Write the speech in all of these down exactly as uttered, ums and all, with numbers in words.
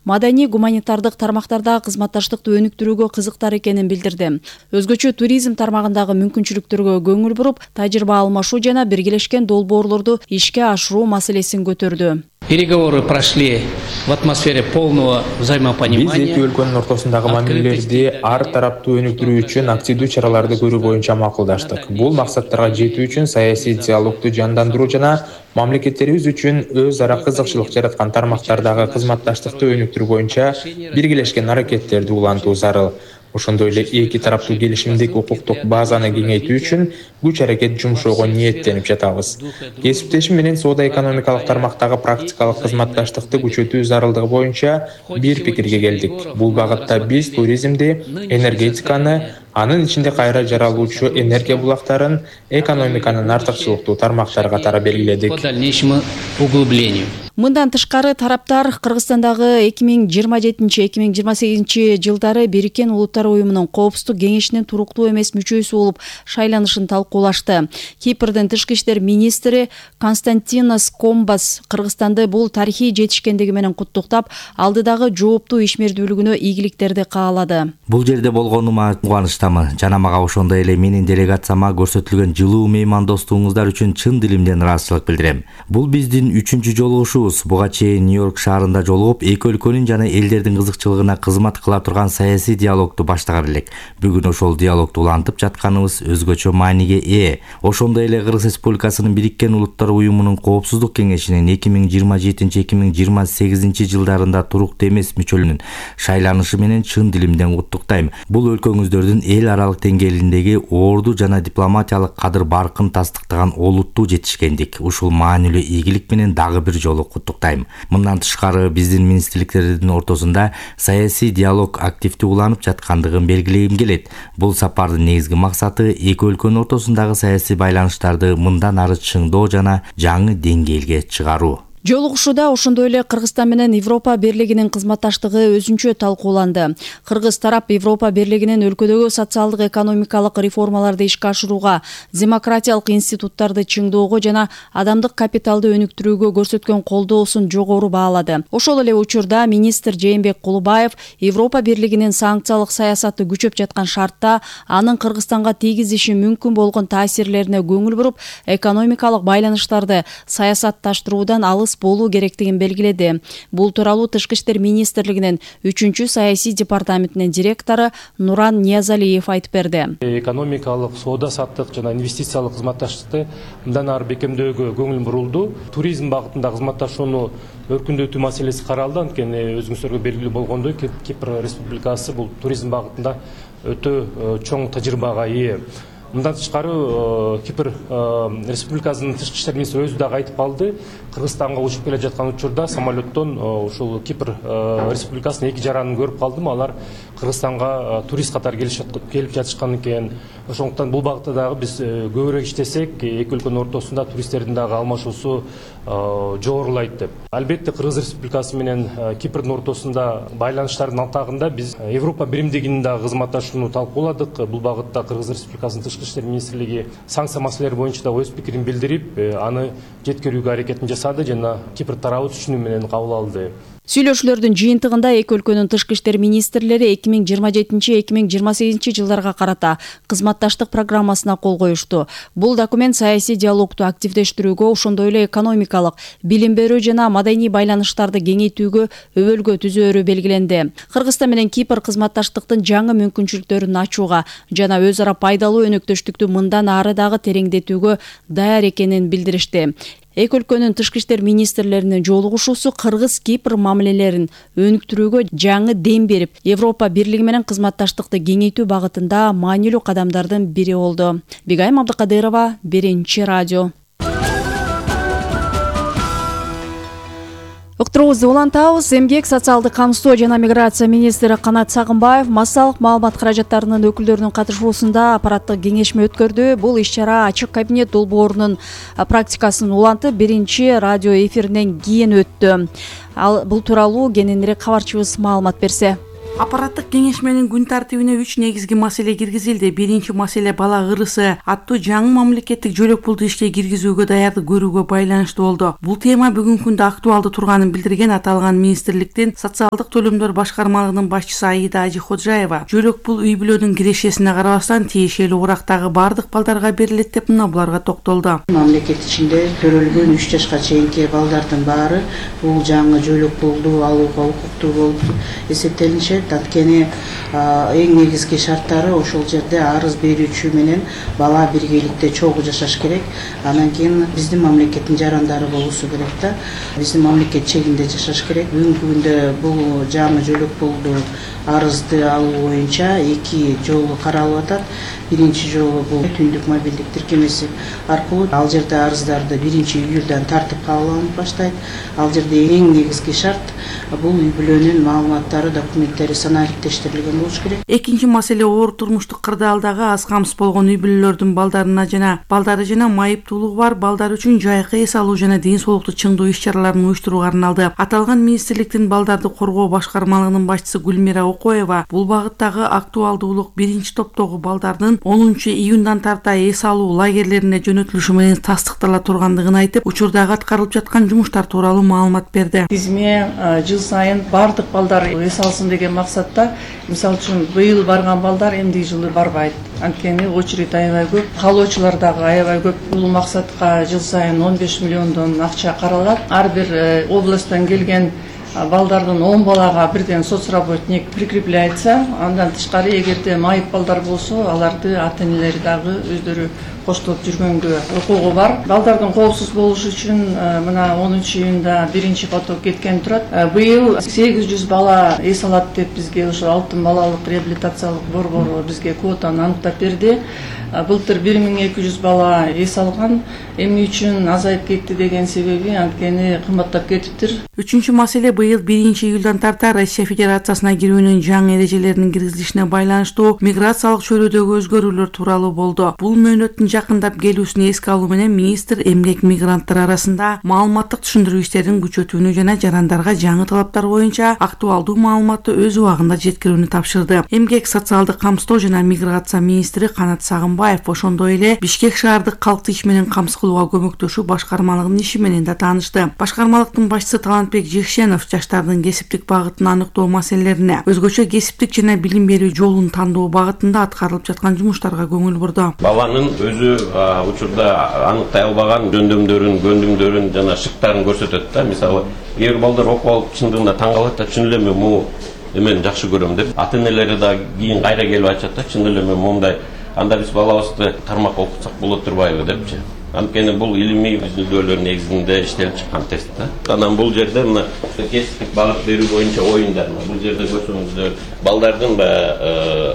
маданий гуманитардык тармактардагы кызматташтыкты өнүктүрүүгө кызыктар экенин билдирди. Өзгөчө туризм тармагындагы мүмкүнчүлүктөргө көңүл буруп, тажрыйба алмашуу жана биргелешкен долбоорлорду ишке ашыруу маселесин көтөрдү. Переговоры прошли в атмосфере полного взаимопонимания. Биз эки өлкөнүн ортосундагы мамилелерди ар тараптуу өнүктүрүү үчүн активдүү чараларды көрүү боюнча макулдаштык. Бул максаттарга жетүү үчүн саясий диалогду жандандыруу жана мамлекеттерибиз үчүн өз ара кызыкчылык жараткан тармактардагы кызматташтыкты өнүктүрүү боюнча биргелешкен аракеттерди улантуу зарыл. Ошондой эле эки тараптуу келишимдик укуктук базаны кеңейтүү үчүн күч аракет жумшоого ниеттенип жатабыз. Кесиптешим менен соода экономикалык тармактагы практикалык кызматташтыкты күчөтүү зарылдыгы боюнча бир пикирге келдик. Бул багытта биз туризмди, энергетиканы, анын ичинде кайра жаралуучу энергия булактарын, экономиканын артыкчылыктуу тармактары катары белгиледик. Мындан тышкары тараптар Кыргызстандагы эки миң жыйырма жетинчи — эки миң жыйырма сегизинчи жылдары Бириккен Улуттар уюмунун Коопсуздук кеңешинин туруктуу эмес мүчөсү болуп шайланышын талкуулашты. Кипрдин тышкы иштер министри Константинос Комбас Кыргызстанды бул тарыхый жетишкендиги менен куттуктап, алдыдагы жооптуу ишмердүүлүгүнө ийгиликтерди каалады. Бул жерде болгонума кубанычтамын жана мага ошондой эле менин делегацияма көрсөтүлгөн жылуу меймандостугуңуздар үчүн чын дилимден ыраазычылык билдирем. Бул биздин үчүнчү жолугушуу. Буга чейин Нью-Йорк шаарында жолугуп, эки өлкөнүн жана элдердин кызыкчылыгына кызмат кыла турган саясий диалогду баштаган элек. Бүгүн ошол диалогду улантып жатканыбыз өзгөчө мааниге ээ. Ошондой эле Кыргыз Республикасынын Бириккен Улуттар уюмунун Коопсуздук кеңешинин эки миң жыйырма жетинчи — эки миң жыйырма сегизинчи жылдарында туруктуу эмес мүчөлүгүнүн шайланышы менен чын дилимден куттуктайм. Бул өлкөңүздөрдүн эл аралык деңгээлиндеги орду жана дипломатиялык кадыр баркын тастыктаган олуттуу жетишкендик. Ушул маанилүү ийгилик менен дагы бир жолу куттуктайм. Мындан тышкары биздин министрликтердин ортосунда саясий диалог активдүү уланып жаткандыгын белгилегим келет. Бул сапардын негизги максаты эки өлкөнүн ортосундагы саясий байланыштарды мындан ары чыңдоо жана жаңы деңгээлге чыгаруу. Жолугушууда ошондой эле Кыргызстан менен Европа Бирлигинин кызматташтыгы өзүнчө талкууланды. Кыргыз тарап Европа Бирлигинин өлкөдөгү социалдык экономикалык реформаларды ишке ашырууга, демократиялык институттарды чыңдоого жана адамдык капиталды өнүктүрүүгө көрсөткөн колдоосун жогору баалады. Ошол эле учурда министр Жээнбек Кулубаев Европа Бирлигинин санкциялык саясаты күчөп жаткан шартта анын Кыргызстанга тийгизиши мүмкүн болгон таасирлерине көңүл буруп, экономикалык байланыштарды саясатташтыруудан алыс болуу керектигин белгиледи. Бул тууралуу Тышкы иштер министрлигинин үчүнчү саясий департаментинин директору Нуран Ниязалиев айтып берди. Экономикалык, соода саттык жана инвестициялык кызматташтыкты мындан ары бекемдөөгө көңүл бурулду. Туризм багытында кызматташууну өркүндөтүү маселеси каралды. Анткени өзүңүздөргө белгилүү болгондой, Кипр Республикасы бул туризм багытында өтө чоң тажрыйбага ээ. Мындан тышкары Кипр Республикасынын тышкы иштер министри өзү дагы айтып калды. Кыргызстанга учуп келе жаткан учурда самолеттон ушул Кипр Республикасынын эки жаранын көрүп калдым. Алар Кыргызстанга турист катары келип жатышкан экен. Ошондуктан бул багытта дагы биз көбүрөөк иштесек, эки өлкөнүн ортосунда туристтердин дагы алмашуусу жогорулайт деп. Албетте Кыргыз Республикасы менен Кипрдин ортосунда байланыштардын атагында биз Европа биримдигинин дагы кызматташууну талкууладык. Бул багытта Кыргыз Республикасынын тышкы иштер министрлиги санкция маселелери боюнча да өз пикирин билдирип, аны жеткирүүгө аракетин жасады жана Кипр тарабы түшүнүү менен кабыл алды. Сүйлөшүүлөрдүн жыйынтыгында эки өлкөнүн тышкы иштер министрлери эки миң жыйырма жетинчи — эки миң жыйырма сегизинчи жылдарга карата кызматташтык программасына кол коюшту. Бул документ саясий диалогду активдештирүүгө, ошондой эле экономикалык, билим берүү жана маданий байланыштарды кеңейтүүгө өбөлгө түзөөрү белгиленди. Кыргызстан менен Кипр кызматташтыктын жаңы мүмкүнчүлүктөрүн ачууга жана өз ара пайдалуу өнөктөштүктү мындан ары дагы тереңдетүүгө даяр экенин билдиришти. Эки өлкөнүн тышкы иштер министрлеринин жолугушуусу Кыргыз-Кипр мамилелерин өнүктүрүүгө жаңы дем берип, Европа Бирлиги менен кызматташтыкты кеңейтүү багытында маанилүү кадамдардын бири болду. Бигайым Абдыкадырова, Биринчи радио. Уктуруубузду улантабыз. Эмгек, социалдык камсыздоо жана миграция министри Канат Сагынбаев массалык маалымат каражаттарынын өкүлдөрүнүн катышуусунда аппараттык кеңешме өткөрдү. Бул иш-чара ачык кабинет долбоорунун практикасын улантып, Биринчи радио эфиринен кийин өттү. Ал бул тууралуу кененирээк кабарчыбыз маалымат берсе. Аппараттык кеңешменин күн тартибине үч негизги маселе киргизилди. Биринчи маселе бала ырысы аттуу жаңы мамлекеттик жөлөк пулду ишке киргизүүгө даярдык көрүүгө байланыштуу болду. Бул тема бүгүнкү күндө актуалдуу турганын билдирген аталган министрликтин социалдык төлөмдөр башкармалыгынын башчысы Аида Ажиходжаева жөлөк пул үй бүлөнүн кирешесине карабастан тиешелүү урактагы бардык балдарга берилет деп мына буларга токтолду. Мамлекет ичинде төрөлгөн үч жашка чейинки балдардын баары бул жаңы жөлөк пулду алууга укуктуу болуп эсептелинишет. Анткени эң негизги шарттары ошол жерде арыз берүүчү менен бала биргеликте чогуу жашаш керек. Анан кийин биздин мамлекеттин жарандары болуусу керек да. Биздин мамлекет чегинде жашаш керек. Бүгүнкү күндө бул жаңы жөлөк пулду арызды алуу боюнча эки жолу каралып атат. Биринчи жолу бул түндүк мобилдик тиркемеси аркылуу ал жерде арыздарды биринчи июлдан тартып кабыл алынып баштайт. Ал жерде эң негизги шарт бул үй бүлөнүн маалыматтары, документтери санариптештирилген болуш керек. Экинчи маселе оор турмуштук кырдаалдагы аз камсыз болгон үй бүлөлөрдүн балдарына жана балдары жана майыптуулугу бар балдар үчүн жайкы эс алуу жана ден соолукту чыңдоо иш-чараларын уюштурууга арналды. Аталган министрликтин балдарды коргоо башкармалыгынын башчысы Гүлмира Окоева бул багыттагы актуалдуулук биринчи топтогу балдардын онунчу июндан тарта эс алуу лагерлерине жөнөтүлүшү менен тастыктала тургандыгын айтып, учурдагы аткарылып жаткан жумуштар тууралуу маалымат берди. Тизме жыл сайын бардык балдар эс алсын деген максатта, мисалы үчүн быйыл барган балдар эмдиги жылы барбайт. Анткени очередь аябай көп, калоочулар дагы аябай көп. Бул максатка жыл сайын он беш миллиондон акча каралат. Ар бир областтан келген балдардын он балага бирден соцработник прикрепляется. Андан тышкары эгерде майып балдар болсо, аларды ата-энелери дагы өздөрү коштоп жүргөнгө укугу бар. Балдардын коопсуз болушу үчүн мына онунчу июнда биринчи поток кеткен турат. Быйыл сегиз жүз бала эс алат деп бизге ошо алтын балалык реабилитациялык борбору бизге квотаны аныктап берди. Былтыр бир миң эки жүз бала эс алган. Эмне үчүн азайып кетти деген себеби анткени кымбаттап кетиптир. Үчүнчү маселе быйыл биринчи июлдан тарта Россия Федерациясына кирүүнүн жаңы эрежелеринин киргизилишине байланыштуу миграциялык чөйрөдөгү өзгөрүүлөр тууралуу болду. Бул мөөнөттүн жакындап келүүсүн эске алуу менен министр эмгек мигранттар арасында маалыматтык түшүндүрүү иштерин күчөтүүнү жана жарандарга жаңы талаптар боюнча актуалдуу маалыматты өз убагында жеткирүүнү тапшырды. Эмгек, социалдык камсыздоо жана миграция министри Канат Сагынбаев ошондой эле Бишкек шаардык калкты иш менен камсыз кылууга көмөктөшүү башкармалыгынын иши менен да таанышты. Башкармалыктын башчысы Талантбек Жекшенов жаштардын кесиптик багытын аныктоо маселелерине, өзгөчө кесиптик жана билим берүү жолун тандоо багытында аткарылып жаткан жумуштарга көңүл бурду. Баланын өзү учурда аныктай албаган жөндөмдөрүн, көндүмдөрүн жана шыктарын көрсөтөт да. Мисалы, кээ бир балдар окуп алып чындыгында таң калат да, чын эле мен муну эмен жакшы көрөм деп. Ата-энелери да кийин кайра келип айтышат да, чын эле мен момундай, анда биз балабызды тармак окутсак болот турбайбы депчи. Анткени бул илимий изилдөөлөр негизинде иштелип чыккан тест да. Анан бул жерде мына кесиптик багыт берүү боюнча оюндар. Бул жерде көрсөңүздөр, балдардын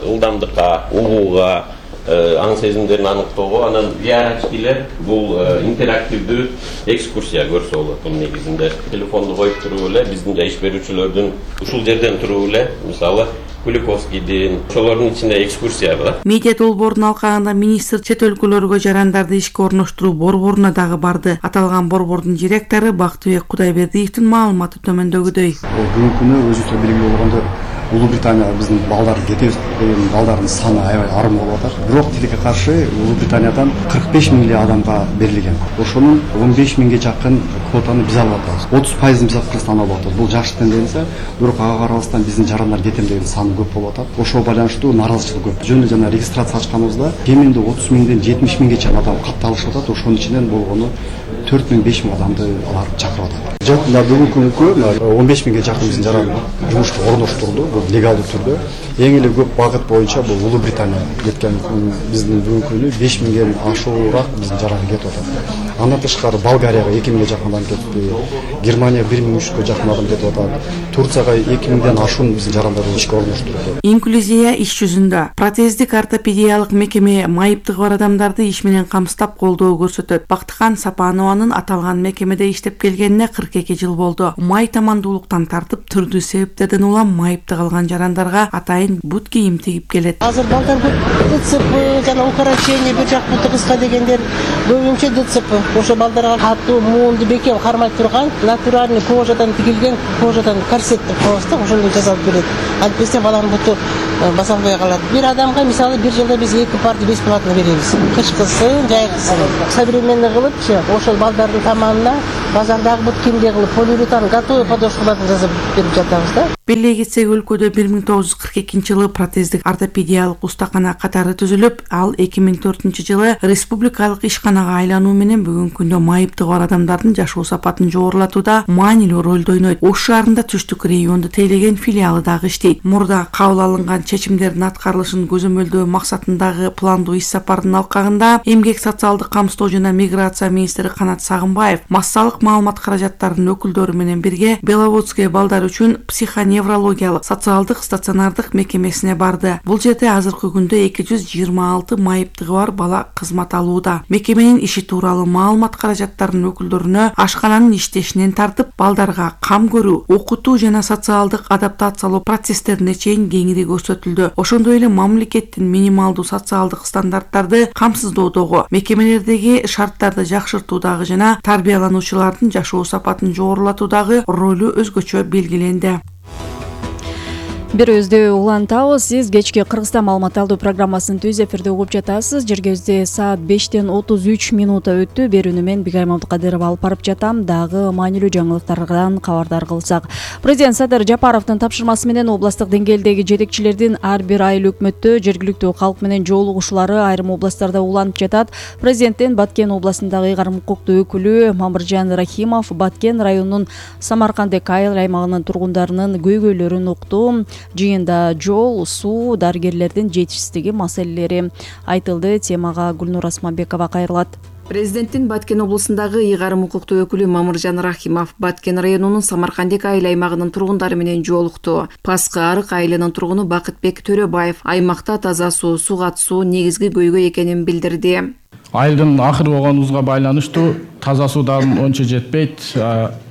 ылдамдыкка, угууга, аң сезимдерин аныктоого, анан биарачкилер бул интерактивдүү экскурсия көрсө болот. Бул негизинде телефонду коюп туруп эле биздин иш берүүчүлөрдүн ушул жерден туруп эле, мисалы Куликовскийдин ошолордун ичинде экскурсия бар. Медиа долбоордун алкагында министр чет өлкөлөргө жарандарды ишке орноштуруу борборуна дагы барды. Аталган борбордун директору Бактыбек Кудайбердиевдин маалыматы төмөндөгүдөй. Бүгүнкү күнү өзүңүздөр белгилүү болгондой Улуу Британияга биздин балдар кетебиз деген балдардын саны аябай арым болуп атат. Бирок тилекке каршы Улуу Британиядан кырк беш миңдей адамга берилген. Ошонун он беш миңге жакын квотаны биз алып атабыз. отуз пайызын биз Кыргызстан алып атабыз. Бул жакшы тенденция. Бирок ага карабастан биздин жарандар кетем деген сан көп болуп атат. Ошого байланыштуу нааразычылык көп. Жөн жана регистрация ачканыбызда кеминде отуз миңден жетимиш миңге чейин адам катталышып атат. Ошонун ичинен болгону төрт миң беш миң адамды алар чакырып атат. Жакында бүгүнкү күнү он беш миңге жакын биздин жаран жумушчу орноштурулду. Легалдуу түрдө эң эле көп багыт боюнча бул Улуу Британия кеткен. Биздин бүгүнкү күнү беш миңден ашуураак биздин жаран кетип атат. Андан тышкары Болгарияга эки миңге жакын адам кетти. Германия бир миң үч жүзгө жакын адам кетип атат. Турцияга эки миңден ашуун биздин жарандарды ишке орноштурду. Инклюзия иш жүзүндө протездик ортопедиялык мекеме майыптыгы бар адамдарды иш менен камсыздап колдоо көрсөтөт. Бактыкан Сапанованын аталган мекемеде иштеп келгенине кырк эки жыл болду. Май тамандуулуктан тартып түрдүү себептерден улам майыптык алган жарандарга атайын бут кийим тигип келет. Азыр балдар ДЦП жана укорочение бир жак буту кыска дегендер көбүнчө ДЦП. ошо балдарга катуу муунду бекем кармай турган натуральный кожадан тигилген кожадан корсеттеп коебуз да, ошону жасалып берет. Антпесе баланын буту баса албай калат. Бир адамга мисалы бир жылда биз эки парты бесплатно беребиз. Кычкысын, жайкысын. Современный кылыпчы ошол балдардын тамагына базардагы бут кимде кылып полиуретан готовый подошваларды жасап берип жатабыз да. Беле кетсек, өлкөдө бир миң тогуз жүз кырк экинчи жылы протездик ортопедиялык устакана катары түзүлүп, ал эки миң төртүнчү жылы республикалык ишканага айлануу менен бүгүнкү күндө майыптыгы бар адамдардын жашоо сапатын жогорулатууда маанилүү ролду ойнойт. Ош шаарында түштүк регионду тейлеген филиалы дагы иштейт. Мурда кабыл алынган чечимдердин аткарылышын көзөмөлдөө максатындагы пландуу иш сапардын алкагында Эмгек социалдык камсыздоо жана миграция министри Канат Сагынбаев массалык маалымат каражаттарынын өкүлдөрү менен бирге Беловодское балдар үчүн психоневрологиялык социалдык стационардык мекемесине барды. Бул жерде азыркы күндө эки жүз жыйырма алты майыптыгы бар бала кызмат алууда. Мекеменин иши тууралуу маалымат каражаттарынын өкүлдөрүнө ашкананын иштешинен тартып, балдарга кам көрүү, окутуу жана социалдык адаптациялоо процесстерине чейин кеңири көрсөтүлдү. Ошондой эле мамлекеттин минималдуу социалдык стандарттарды камсыздоодогу, мекемелердеги шарттарды жакшыртуудагы жана тарбиялануучулардын жашоо сапатын жогорулатуудагы ролу өзгөчө белгиленди. Бир өздөй улантабыз. Сиз кечки Кыргызстан маалымат алуу программасын түз эфирде угуп жатасыз. Жергебизде саат бештен отуз үч минута өттү. Берүүнү мен Бигайым Абдыкадырова алып барып жатам. Дагы маанилүү жаңылыктардан кабардар кылсак. Президент Садыр Жапаровдун тапшырмасы менен областтык деңгээлдеги жетекчилердин ар бир айыл өкмөттө жергиликтүү калк менен жолугушуулары айрым областтарда уланып жатат. Президенттин Баткен областындагы ыйгарым укуктуу өкүлү Мамыржан Рахимов Баткен районунун Самаркандек айыл аймагынын тургундарынын көйгөйлөрүн укту. Жыйында жол, суу, дарыгерлердин жетишсиздиги маселелери айтылды. Темага Гүлнур Асманбекова кайрылат. Президенттин Баткен областындагы ыйгарым укуктуу өкүлү Мамыржан Рахимов Баткен районунун Самаркандек айыл аймагынын тургундары менен жолукту. Паскы арык айылынын тургуну Бакытбек Төрөбаев аймакта таза суу, суу катышуу негизги көйгөй экенин билдирди. Айылдын акыры болгонубузга байланыштуу таза суу дагы ончо жетпейт.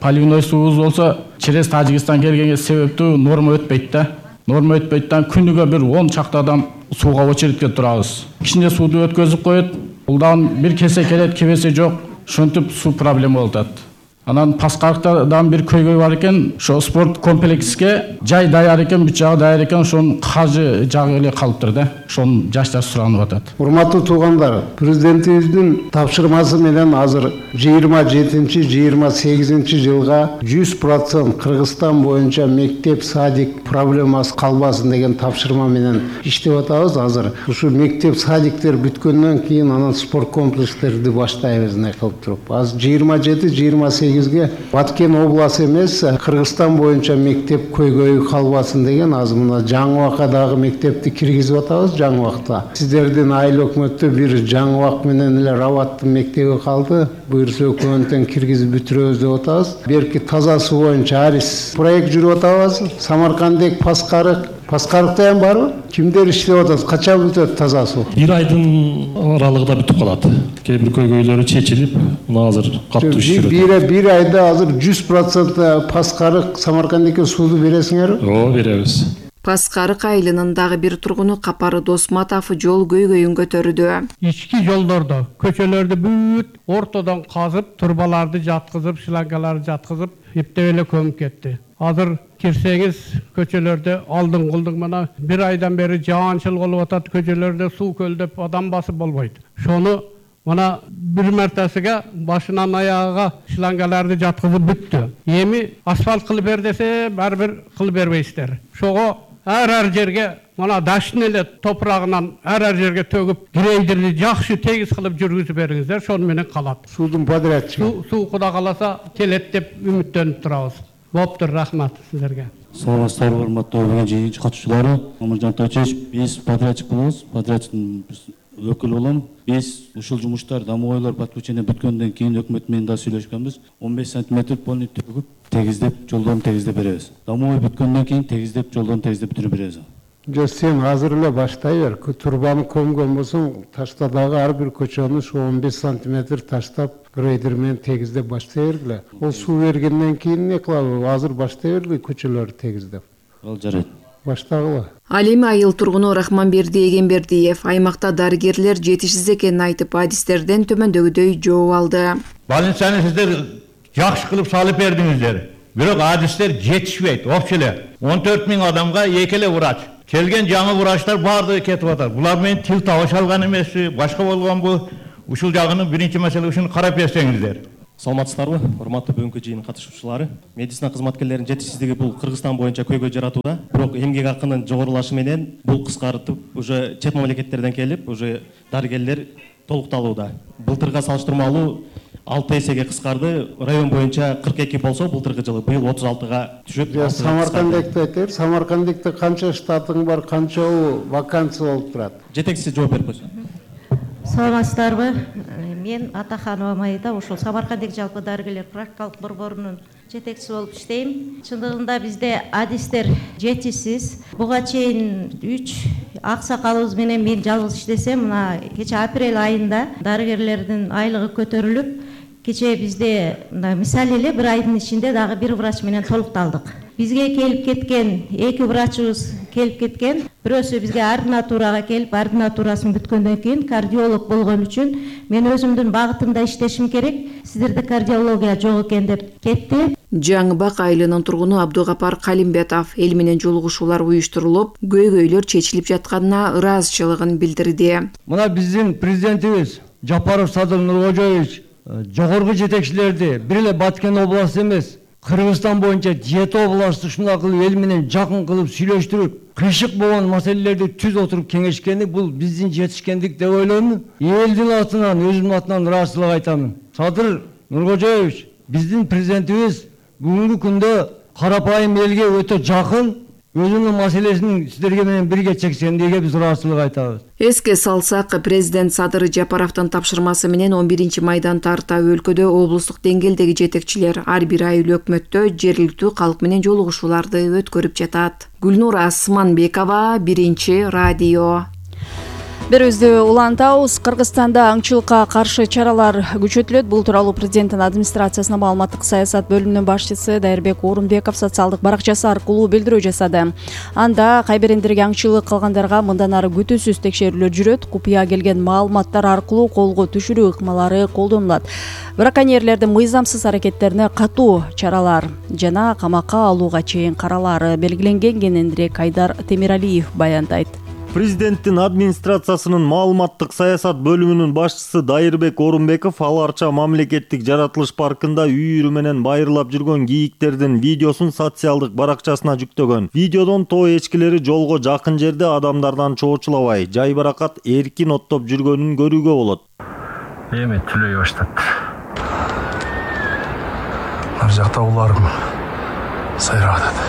Поливной суубуз болсо через Тажикстан келгенге себептүү норма өтпөйт да. Норма өтпөйттен күнүгө бир он чакты адам сууга очередке турабыз. Кичине сууду өткөзүп коет. Булдан бир кесе келет, кебесе жок. Шонтип суу проблема болуп атат. Анан Паскарыктан бир көйгөй бар экен. Ошо спорт комплекске жай даяр экен, бүт жагы даяр экен, ошонун каржы жагы эле калыптыр да. Ошону жаштар суранып атат. Урматтуу туугандар, президентибиздин тапшырмасы менен азыр жыйырма жетинчи жыйырма сегизинчи жылга жүз процент Кыргызстан боюнча мектеп, садик проблемасы калбасын деген тапшырма менен иштеп атабыз. Азыр ушу мектеп, садиктер бүткөндөн кийин анан спорт комплекстерди баштайбыз не кылып туруп. Азыр жыйырма жети жыйырма сегизге Баткен обласы эмес, Кыргызстан боюнча мектеп көйгөйү калбасын деген азыр мына Жаңыбакадагы мектепти киргизип атабыз. Жаңыбакта сиздердин айыл өкмөттө бир Жаңыбак менен эле Рабаттын мектеби калды. Буюрса өкмөттөн киргизип бүтүрөбүз деп атабыз. Берки таза суу боюнча Арис проект жүрүп атабыз. Самаркандек, Паскарык Паскарыкта ham барбы? Кимдер иштеп атат? Качан бүтөт таза суу? Бир айдын аралыгында бүтүп калат. Кээ бир көйгөйлөрү чечилип, мына азыр катуу иш жүрөт. Бир бир айда азыр жүз процент Паскарык, Самаркандекке сууду бересиңерби? Ооба, беребиз. Паскарык айылынын дагы бир тургуну Капары Досматов жол көйгөйүн көтөрдү. Ички жолдордо көчөлөрдү бүт ортодон казып, турбаларды жаткызып, шлангаларды жаткызып, эптеп эле көмүп кетти. Азыр кирсеңиз көчөлөрдө алдын кылдың мына бир айдан бери жаанчыл болуп атат, көчөлөрдө суу көлдөп адам басып болбойт. Шону мына бир мартасыга башынан аягыга шлангаларды жаткызып бүттү. Эми асфальт кылып бер десе, баары бир кылып бербейсиздер. Шого ар-ар жерге мына даштын эле топурагынан ар-ар жерге төгүп, грейдерди жакшы тегиз кылып жүргүзүп бериңиздер, шону менен калат. Суудун подрядчыгы. Суу Куда каласа келет деп үмүттөнүп турабыз. Боптур, рахмат сиздерге. Саламатсыздар, урматтуу жыйынчы катышуучулары. Мамыржан Тойчевич, биз подрядчик болобуз, подрядчыктын өкүлү болом. Биз ушул жумуштар дамуу подключение бүткөндөн кийин өкмөт менен да сүйлөшкөнбүз. он беш сантиметр полный төгүп, тегиздеп, жолдон тегиздеп беребиз. Дамуу бүткөндөн кийин тегиздеп, жолдон тегиздеп бүтүрүп беребиз. Жок, сен азыр эле баштай бер. Турбаны көмгөн болсоң, таштадагы ар бир көчөнү ошо он беш сантиметр таштап, грейдер менен тегиздеп баштай бергиле. Ол суу бергенден кийин не кылабы? Азыр баштай бергиле көчөлөрдү тегиздеп. Ал жарайт. баштагыла. Ал эми айыл тургуну Рахманберди Эгембердиев аймакта дарыгерлер жетишсиз экенин айтып, адистерден төмөндөгүдөй жооп алды. Балынчаны сиздер жакшы кылып салып бердиңиздер. Бирок адистер жетишпейт, опчу эле. он төрт миң адамга эки эле врач. Келген жаңы врачтар баардыгы кетип атат. Булар менен тил табыша алган эмеспи, башка болгонбу? Ушул жагынын биринчи маселе ушуну карап берсеңиздер. Саламатсыздарбы, урматтуу бүгүнкү жыйын катышуучулары. Медицина кызматкерлеринин жетишсиздиги бул Кыргызстан боюнча көйгөй жаратууда. Бирок эмгек акынын жогорулашы менен бул кыскартып, уже чет мамлекеттерден келип, уже дарыгерлер толукталууда. Былтырга салыштырмалуу алты эсеге кыскарды. Район боюнча кырк эки болсо, былтыркы жылы быйыл отуз алтыга түшүп. Самаркандыкты айтайын. Самаркандыкта канча штатың бар, канча вакансия болуп турат? Жетекчиси жооп берип койсун. Саламатсыздарбы? Мен Атаханова Майда, ошол Самаркандык жалпы дарыгерлер практикалык борборунун жетекчиси болуп иштейм. Чындыгында бизде адистер жетишсиз. Буга чейин үч аксакалыбыз менен мен жалгыз иштесем, мына кече апрель айында дарыгерлердин айлыгы көтөрүлүп, кече бизде мисалы эле бир айдын ичинде дагы бир врач менен толукталдык. Бизге келип кеткен эки врачыбыз келип кеткен. Бирөөсү бизге ординатурага келип, ординатурасын бүткөндөн кийин кардиолог болгон үчүн мен өзүмдүн багытымда иштешим керек. Сиздерде кардиология жок экен деп кетти. Жаңыбак айылынын тургуну Абдугапар Калимбетов эл менен жолугушуулар уюштурулуп, көйгөйлөр чечилип жатканына ыраазычылыгын билдирди. Мына биздин президентибиз Жапаров Садыр Нуркожоевич жогорку жетекчилерди бир эле Баткен областы эмес, Кыргызстан боюнча жети областты ушундай кылып эл менен жакын кылып сүйлөштүрүп, кыйшык болгон маселелерди түз отуруп кеңешкени бул биздин жетишкендик деп ойлойм. Элдин атынан, өзүмдүн атынан ыраазычылык айтамын. Садыр Нуркожоевич, биздин президентибиз бүгүнкү күндө карапайым элге өтө жакын, өзүнүн маселесин сиздерге менен бирге чечкендиге биз ыраазычылык айтабыз. Эске салсак, президент Садыр Жапаровдун тапшырмасы менен он биринчи майдан тарта өлкөдө облустук деңгээлдеги жетекчилер ар бир ай өкмөттө жергиликтүү калк менен жолугушууларды өткөрүп жатат. Гүлнур Асманбекова, Биринчи радио. Берүүбүздү улантабыз. Кыргызстанда аңчылыкка каршы чаралар күчөтүлөт. Бул тууралуу президенттин администрациясынын маалыматтык саясат бөлүмүнүн башчысы Дайырбек Орунбеков социалдык баракчасы аркылуу билдирүү жасады. Анда кайбирендерге аңчылык кылгандарга мындан ары күтүүсүз текшерүүлөр жүрөт. Купуя келген маалыматтар аркылуу колго түшүрүү ыкмалары колдонулат. Браконьерлердин мыйзамсыз аракеттерине катуу чаралар жана камакка алууга чейин каралары белгиленген, кененирээк Айдар Темиралиев баяндайт. Президенттин администрациясынын маалыматтык саясат бөлүмүнүн башчысы Дайырбек Орунбеков Ал Арча мамлекеттик жаратылыш паркында үйүрү менен байырлап жүргөн кийиктердин видеосун социалдык баракчасына жүктөгөн. Видеодон тоо эчкилери жолго жакын жерде адамдардан чоочулабай, жайбаракат эркин оттоп жүргөнүн көрүүгө болот. Эми түлөй баштат. Ар жакта уларым сайрап атат.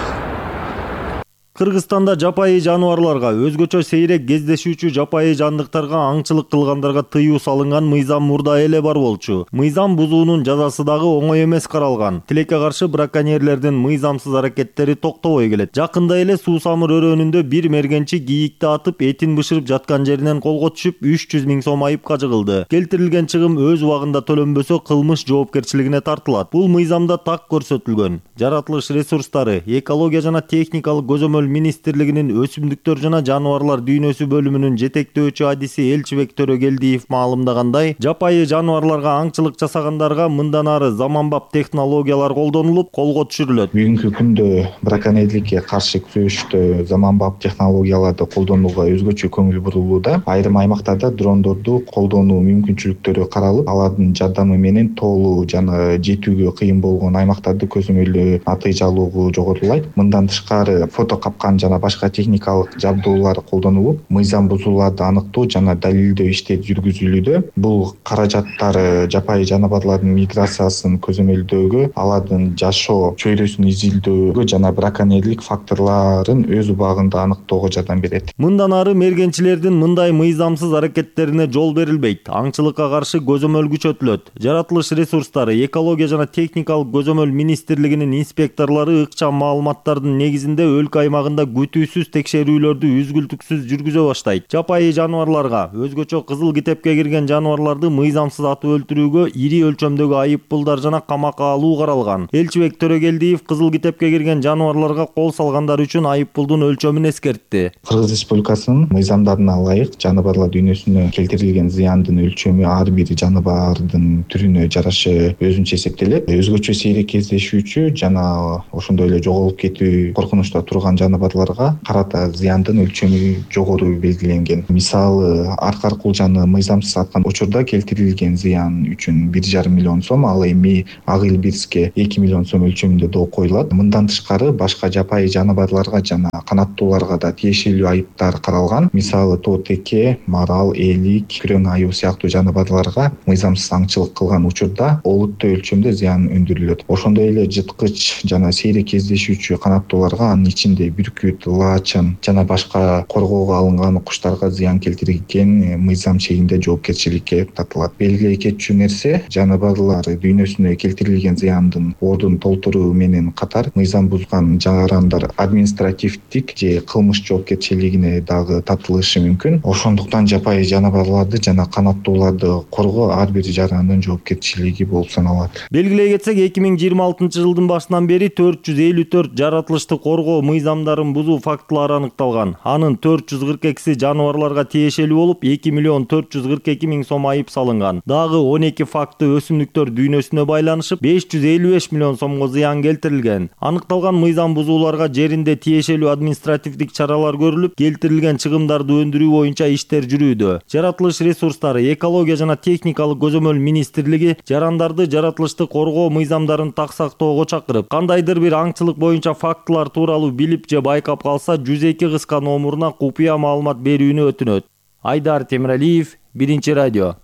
Кыргызстанда жапайы жаныбарларга, өзгөчө сейрек кездешүүчү жапайы жандыктарга аңчылык кылгандарга тыюу салынган мыйзам мурда эле бар болчу. Мыйзам бузуунун жазасы дагы оңой эмес каралган. Тилекке каршы браконьерлердин мыйзамсыз аракеттери токтобой келет. Жакында эле Суусамыр өрөөнүндө бир мергенчи кийикти атып, этин бышырып жаткан жеринен колго түшүп үч жүз миң сом айыпка жыгылды. Келтирилген чыгым өз убагында төлөнбөсө кылмыш жоопкерчилигине тартылат. Бул мыйзамда так көрсөтүлгөн. Жаратылыш ресурстары, экология жана техникалык көзөмөл министрлигинин өсүмдүктөр жана жаныбарлар дүйнөсү бөлүмүнүн жетектөөчү адиси Элчибек Төрөгелдиев маалымдагандай, жапайы жаныбарларга аңчылык жасагандарга мындан ары заманбап технологиялар колдонулуп, колго түшүрүлөт. Бүгүнкү күндө браконьерликке каршы күрөштө заманбап технологияларды колдонууга өзгөчө көңүл бурулууда. Айрым аймактарда дрондорду колдонуу мүмкүнчүлүктөрү каралып, алардын жардамы менен тоолуу жана жетүүгө кыйын болгон аймактарды көзөмөлдөө натыйжалуу жоготулат. Мындан тышкары фото капкан жана башка техникалык жабдуулар колдонулуп, мыйзам бузууларды аныктоо жана далилдөө иштери жүргүзүлүүдө. Бул каражаттар жапайы жаныбарлардын миграциясын көзөмөлдөөгө, алардын жашоо чөйрөсүн изилдөөгө жана браконьерлик факторлорун өз убагында аныктоого жардам берет. Мындан ары мергенчилердин мындай мыйзамсыз аракеттерине жол берилбейт. Аңчылыкка каршы көзөмөл күчөтүлөт. Жаратылыш ресурстары, экология жана техникалык көзөмөл министрлигинин инспекторлору ыкчам маалыматтардын негизинде өлкө аймагын аймагында күтүүсүз текшерүүлөрдү үзгүлтүксүз жүргүзө баштайт. Жапайы жаныбарларга, өзгөчө кызыл китепке кирген жаныбарларды мыйзамсыз атып өлтүрүүгө ири өлчөмдөгү айыппулдар жана камакка алуу каралган. Элчибек Төрөгелдиев кызыл китепке кирген жаныбарларга кол салгандар үчүн айыппулдун өлчөмүн эскертти. Кыргыз Республикасынын мыйзамдарына ылайык жаныбарлар дүйнөсүнө келтирилген зыяндын өлчөмү ар бир жаныбардын түрүнө жараша өзүнчө эсептелет. Өзгөчө сейрек кездешүүчү жана ошондой эле жоголуп кетүү коркунучта турган жаныбарларга карата зыяндын өлчөмү жогору белгиленген. Мисалы, аркар кулжаны мыйзамсыз аткан учурда келтирилген зыян үчүн бир жарым миллион сом, ал эми ак илбирске эки миллион сом өлчөмүндө доо коюлат. Мындан тышкары башка жапайы жаныбарларга жана канаттууларга да тиешелүү айыптар каралган. Мисалы, тоотеке, марал, элик, күрөң аюу сыяктуу жаныбарларга мыйзамсыз аңчылык кылган учурда олуттуу өлчөмдө зыян өндүрүлөт. Ошондой эле жыткыч жана сейрек кездешүүчү канаттууларга, анын ичинде бүркүт, лачын жана башка коргоого алынган куштарга зыян келтирген мыйзам чегинде жоопкерчиликке тартылат. Белгилей кетчү нерсе, жаныбарлар дүйнөсүнө келтирилген зыяндын ордун толтуруу менен катар мыйзам бузган жарандар административдик же кылмыш жоопкерчилигине дагы тартылышы мүмкүн. Ошондуктан жапайы жаныбарларды жана канаттууларды коргоо ар бир жарандын жоопкерчилиги болуп саналат. Белгилей кетсек, эки миң жыйырма алтынчы жылдын башынан бери төрт жүз элүү төрт жаратылышты коргоо мыйзамдарын бузуу фактылары аныкталган. Анын төрт жүз кырк экиси жаныбарларга тиешелүү болуп, эки миллион төрт жүз кырк эки миң сом айып салынган. Дагы он эки факты өсүмдүктөр дүйнөсүнө байланышып, беш жүз элүү беш миллион сомго зыян келтирилген. Аныкталган мыйзам бузууларга жеринде тиешелүү административдик чаралар көрүлүп, келтирилген чыгымдарды өндүрүү боюнча иштер жүрүүдө. Жаратылыш ресурстары, экология жана техникалык көзөмөл министрлиги жарандарды жаратылышты коргоо мыйзамдарын так сактоого чакырып, кандайдыр бир аңчылык боюнча фактылар тууралуу билип же байкап калса, жүз эки кыска номуруна купуя маалымат берүүнү өтүнөт. Айдар Темиралиев, Биринчи радио.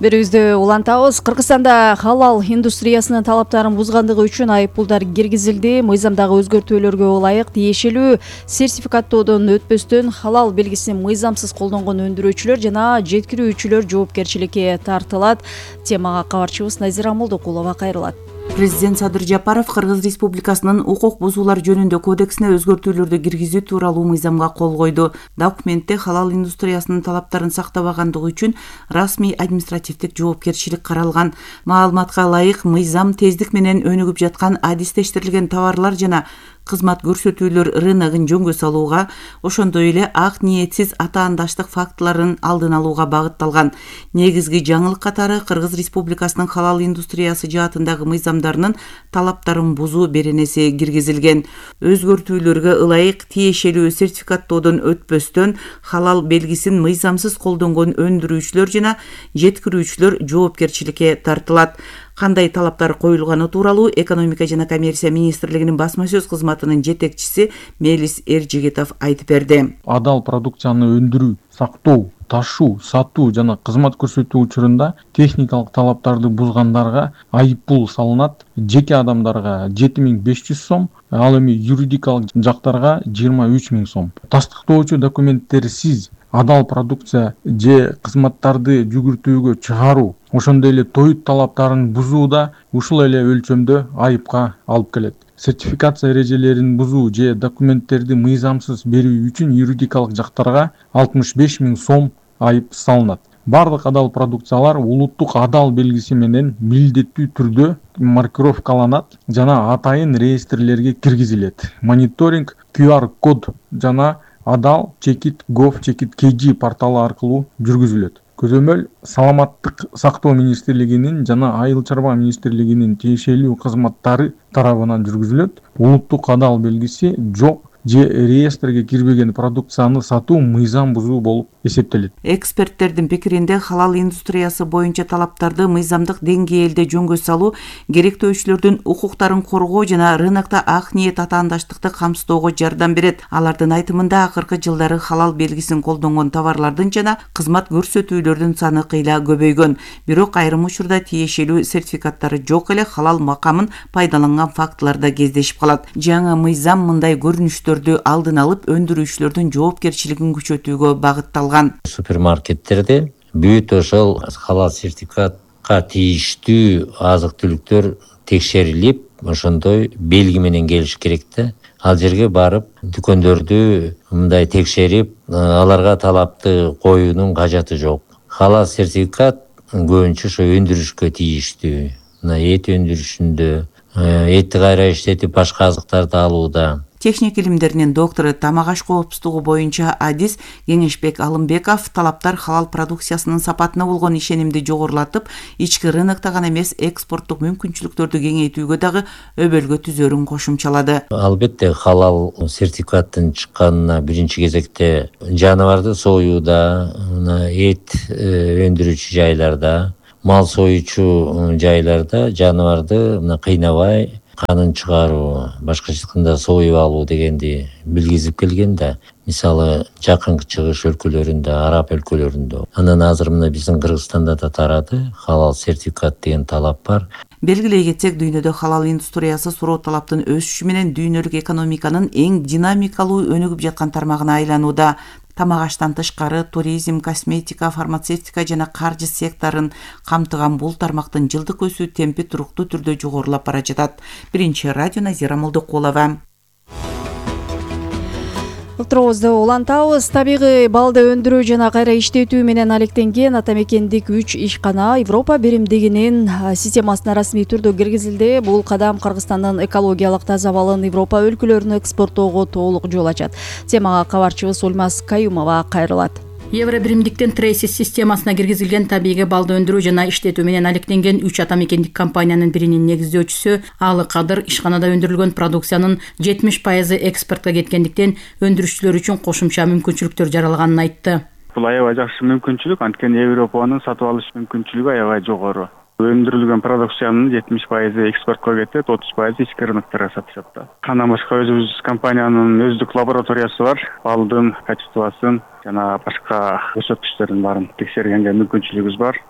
Берүүбүздү улантабыз. Кыргызстанда халал индустриясынын талаптарын бузгандыгы үчүн айыппулдар киргизилди. Мыйзамдагы өзгөртүүлөргө ылайык тиешелүү сертификаттоодон өтпөстөн халал белгисин мыйзамсыз колдонгон өндүрүүчүлөр жана жеткирүүчүлөр жоопкерчиликке тартылат. Темага кабарчыбыз Назира Молдокулова кайрылат. Президент Садыр Жапаров Кыргыз Республикасынын укук бузуулар жөнүндө кодексине өзгөртүүлөрдү киргизүү тууралуу мыйзамга кол койду. Документте халал индустриясынын талаптарын сактабагандыгы үчүн расмий административдик жоопкерчилик каралган. Маалыматка ылайык, мыйзам тездик менен өнүгүп жаткан адистештирилген товарлар жана кызмат көрсөтүүлөр рыногун жөнгө салууга, ошондой эле ак ниетсиз атаандаштык фактыларын алдын алууга багытталган. Негизги жаңылык катары Кыргыз Республикасынын халал индустриясы жаатындагы мыйзамдарынын талаптарын бузуу беренеси киргизилген. Өзгөртүүлөргө ылайык тиешелүү сертификаттоодон өтпөстөн халал белгисин мыйзамсыз колдонгон өндүрүүчүлөр жана жеткирүүчүлөр жоопкерчиликке тартылат. Кандай талаптар коюлганы тууралуу Экономика жана коммерция министрлигинин басма сөз кызматынын жетекчиси Мелис Эржигитов айтып берди. Адал продукцияны өндүрүү, сактоо, ташуу, сатуу жана кызмат көрсөтүү учурунда техникалык талаптарды бузгандарга айыппул салынат. Жеке адамдарга жети миң беш жүз сом, ал эми юридикалык жактарга жыйырма үч миң сом. Тастыктоочу документтерсиз адал продукция же кызматтарды жүгүртүүгө чыгаруу, ошондой эле тоют талаптарын бузуу да ушул эле өлчөмдө айыпка алып келет. Сертификация эрежелерин бузуу же документтерди мыйзамсыз берүү үчүн юридикалык жактарга алтымыш беш миң сом айып салынат. Бардык адал продукциялар улуттук адал белгиси менен милдеттүү түрдө маркировкаланат жана атайын реестрлерге киргизилет. Мониторинг кью ар код жана адал чекит гов чекит kg порталы аркылуу жүргүзүлөт. Көзөмөл Саламаттык сактоо министрлигинин жана Айыл чарба министрлигинин тиешелүү кызматтары тарабынан жүргүзүлөт. Улуттук адал белгиси жок же реестрге кирбеген продукцияны сатуу мыйзам бузуу болуп эсептелет. Эксперттердин пикиринде халал индустриясы боюнча талаптарды мыйзамдык деңгээлде жөнгө салуу керектөөчүлөрдүн укуктарын коргоо жана рынокто ак ниет атаандаштыкты камсыздоого жардам берет. Алардын айтымында акыркы жылдары халал белгисин колдонгон товарлардын жана кызмат көрсөтүүлөрдүн саны кыйла көбөйгөн. Бирок айрым учурда тиешелүү сертификаттары жок эле халал макамын пайдаланган фактылар да кездешип калат. Жаңы мыйзам мындай көрүнүштөр алдын алып өндүрүүчүлөрдүн жоопкерчилигин күчөтүүгө багытталган. Супермаркеттерде бүт ошол халал сертификатка тийиштүү азык түлүктөр текшерилип ошондой белги менен келиш керек да. Ал жерге барып дүкөндөрдү мындай текшерип аларга талапты коюунун кажаты жок. Халал сертификат көбүнчө ошо өндүрүшкө тийиштүү. Мына эт өндүрүшүндө, этти кайра иштетип башка азыктарды алууда. Техник илимдеринин доктору, тамак аш коопсуздугу боюнча адис Кеңешбек Алымбеков талаптар халал продукциясынын сапатына болгон ишенимди жогорулатып, ички рынокто гана эмес, экспорттук мүмкүнчүлүктөрдү кеңейтүүгө дагы өбөлгө түзөрүн кошумчалады. Албетте халал сертификаттын чыкканына биринчи кезекте жаныбарды союуда, эт өндүрүүчү жайларда, мал союучу жайларда жаныбарды кыйнабай канын чыгаруу, башкача айтканда союп алуу дегенди билгизип келген да. Мисалы, жакынкы чыгыш өлкөлөрүндө, араб өлкөлөрүндө. Анан азыр мына биздин Кыргызстанда да тарады, халал сертификат деген талап бар. Белгилей кетсек, дүйнөдө халал индустриясы суроо талаптын өсүшү менен дүйнөлүк экономиканын эң динамикалуу өнүгүп жаткан тармагына айланууда. Тамак аштан тышкары туризм, косметика, фармацевтика жана каржы секторун камтыган бул тармактын жылдык өсүү темпи туруктуу түрдө жогорулап бара жатат. Биринчи радио Назира Молдокулова. Уктуруубузду улантабыз. Табигый балды өндүрүү жана кайра иштетүү менен алектенген атамекендик үч ишкана Европа биримдигинин системасына расмий түрдө киргизилди. Бул кадам Кыргызстандын экологиялык таза балын Европа өлкөлөрүнө экспорттоого толук жол ачат. Темага кабарчыбыз Ульмаз Каюмова кайрылат. Евро биримдиктин Трейсис системасына киргизилген табигый балды өндүрүү жана иштетүү менен алектенген үч атамекендик компаниянын биринин негиздөөчүсү Алы Кадыр ишканада өндүрүлгөн продукциянын жетимиш пайызы экспортко кеткендиктен өндүрүшчүлөр үчүн кошумча мүмкүнчүлүктөр жаралганын айтты. Бул аябай жакшы мүмкүнчүлүк, анткени Европанын сатып алыш мүмкүнчүлүгү аябай жогору. Өндүрүлгөн продукциянын жетимиш пайызы экспортко кетет, отуз пайызы ички рыноктарга сатышат да. Андан башка өзүбүз компаниянын өздүк лабораториясы бар. Балдын качествосын жана башка көрсөткүчтөрдүн баарын текшергенге мүмкүнчүлүгүбүз бар.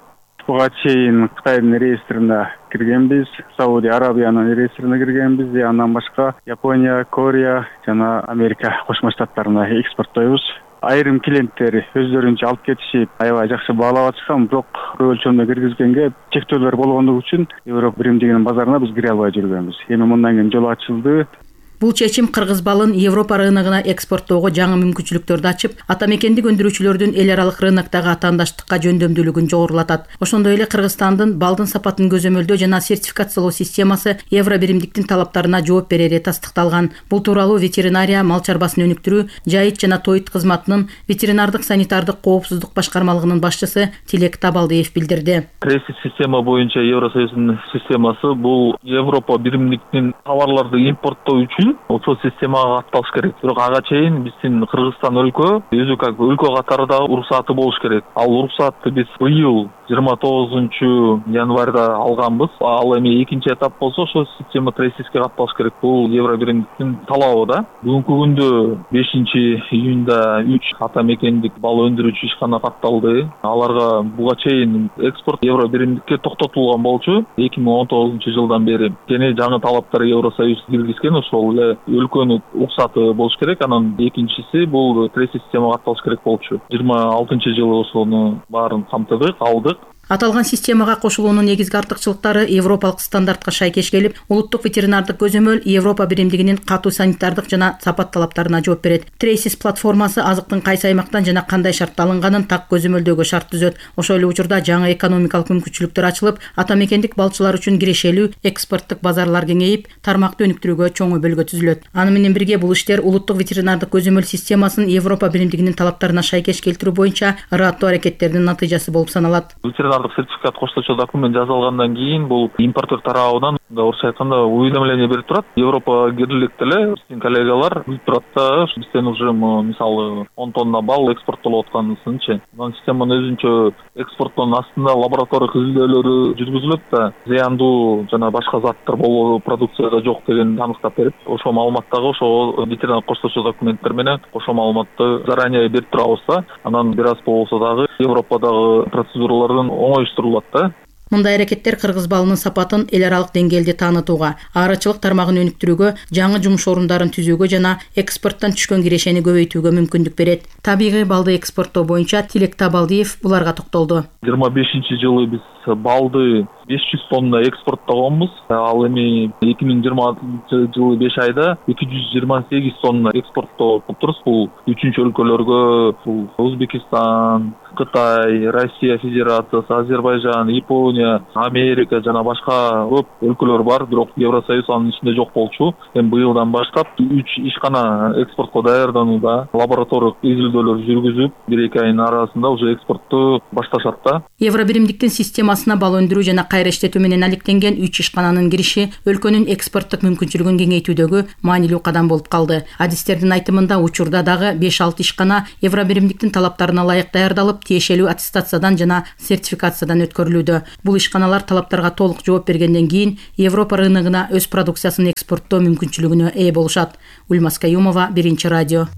Буга чейин Кытайдын реестрине киргенбиз, Саудия Арабиянын реестрине киргенбиз, андан башка Япония, Корея жана Америка Кошмо Штаттарына экспорттойбуз. Айрым клиенттер өздөрүнчө алып кетишип, аябай жакшы баалап атышкан, бирок көп өлчөмдө киргизгенге чектөөлөр болгондугу үчүн Европа биримдигинин базарына биз кире албай жүргөнбүз. Эми мындан кийин жол ачылды. Бул чечим кыргыз балын Европа рыногуна экспорттоого жаңы мүмкүнчүлүктөрдү ачып, атамекендик өндүрүүчүлөрдүн эл аралык рыноктогу атаандаштыкка жөндөмдүүлүгүн жогорулатат. Ошондой эле Кыргызстандын балдын сапатын көзөмөлдөө жана сертификациялоо системасы Евро биримдиктин талаптарына жооп берери тастыкталган. Бул тууралуу ветеринария, мал чарбасын өнүктүрүү, жайыт жана тоyut кызматынын ветеринардык санитардык коопсуздук башкармалыгынын башчысы Тилек Табалдиев билдирди. Трейсис система боюнча Евросоюздун системасы бул Европа биримдиктин товарларды импорттоо үчүн ошол системага катталыш керек. Бирок ага чейин биздин Кыргызстан өлкө өзү как өлкө катары да уруксаты болуш керек. Ал уруксатты биз быйыл жыйырма тогузунчу январда алганбыз. Ал эми экинчи этап болсо ошол система Трейсиске катталыш керек. Бул Евро биримдиктин талабы да. Бүгүнкү күндө бешинчи июнда үч атамекендик бал өндүрүүчү ишкана катталды. Аларга буга чейин экспорт Евро биримдикке токтотулган болчу эки миң он тогузунчу жылдан бери. Кene жаңы талаптар Евросоюз киргизген, ошол эле өлкөнүн уруксаты болуш керек. Анан экинчиси бул Трейсис системага катталыш керек болчу. жыйырма алтынчы жылы ошону баарын камтыдык, алдык. Аталган системага кошулуунун негизги артыкчылыктары европалык стандартка шайкеш келип, улуттук ветеринардык көзөмөл Европа биримдигинин катуу санитардык жана сапат талаптарына жооп берет. Трейсис платформасы азыктын кайсы аймактан жана кандай шартта алынганын так көзөмөлдөөгө шарт түзөт. Ошол эле учурда жаңы экономикалык мүмкүнчүлүктөр ачылып, атамекендик балчылар үчүн кирешелүү экспорттук базарлар кеңейип, тармакты өнүктүрүүгө чоң өбөлгө түзүлөт. Аны менен бирге бул иштер улуттук ветеринардык көзөмөл системасын Европа биримдигинин талаптарына шайкеш келтирүү боюнча ыраттуу аракеттердин натыйжасы болуп саналат. Сертификат кошточу документ жасалгандан кийин бул импортер тарабынан орусча айтканда уведомление берип турат. Европа кирлик деле биздин коллегалар билип турат да, бизден уже мисалы он тонна бал экспорттолуп атканысынчы. Мына системанын өзүнчө экспорттон астында лаборатория изилдөөлөрү жүргүзүлөт да, зыяндуу жана башка заттар болуу продукцияда жок деген аныктап берип, ошол маалыматтагы ошол ветеринар кошточу документтер менен ошол маалыматты заранее берип турабыз да. Анан бир аз болсо дагы Европадагы процедуралардан оңоюштурулат да. Мындай аракеттер кыргыз балынын сапатын эл аралык деңгээлде таанытууга, аарачылык тармагын өнүктүрүүгө, жаңы жумуш орундарын түзүүгө жана экспорттон түшкөн кирешени көбөйтүүгө мүмкүндүк берет. Табигый балды экспорттоо боюнча Тилек Табалдиев буларга токтолду. жыйырма бешинчи жылы биз балды беш жүз тонна экспорттогонбуз. Ал эми эки миң жыйырма алтынчы жылы беш айда эки жүз жыйырма сегиз тонна экспорттоо кылыптырбыз. Бул үчүнчү өлкөлөргө, бул Өзбекистан, Кытай, Россия Федерациясы, Азербайжан, Япония, Америка жана башка көп өлкөлөр бар, бирок Евросоюз анын ичинде жок болчу. Эми быйылдан баштап үч ишкана экспортко даярданууда, лабораториялык изилдөөлөр жүргүзүп, бир эки айдын арасында уже экспортту башташат да. Евробиримдиктин системасына бал өндүрүү жана кайра иштетүү менен алектенген үч ишкананын кириши өлкөнүн экспорттук мүмкүнчүлүгүн кеңейтүүдөгү маанилүү кадам болуп калды. Адистердин айтымында учурда дагы беш алты ишкана Евробиримдиктин талаптарына ылайык даярдалып, тиешелүү аттестациядан жана сертификациядан өткөрүлүүдө. Бул ишканалар талаптарга толук жооп бергенден кийин Европа рыногуна өз продукциясын экспорттоо мүмкүнчүлүгүнө ээ болушат. Ульмас Каюмова, Биринчи радио.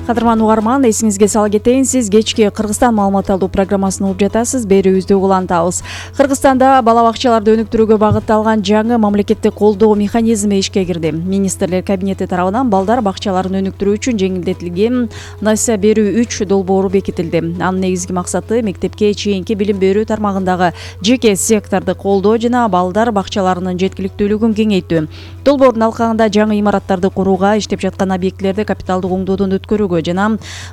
Кадырман угарман, эсиңизге сала кетейин, сиз кечки Кыргызстан маалымат алуу программасын угуп жатасыз. Берүүбүздү улантабыз. Кыргызстанда бала бакчаларды өнүктүрүүгө багытталган жаңы мамлекеттик колдоо механизми ишке кирди. Министрлер кабинети тарабынан балдар бакчаларын өнүктүрүү үчүн жеңилдетилген насия берүү үч долбоору бекитилди. Анын негизги максаты мектепке чейинки билим берүү тармагындагы жеке секторду колдоо жана балдар бакчаларынын жеткиликтүүлүгүн кеңейтүү. Долбоордун алкагында жаңы имараттарды курууга, иштеп жаткан объектилерди капиталдык оңдоодон өткөрүүгө жана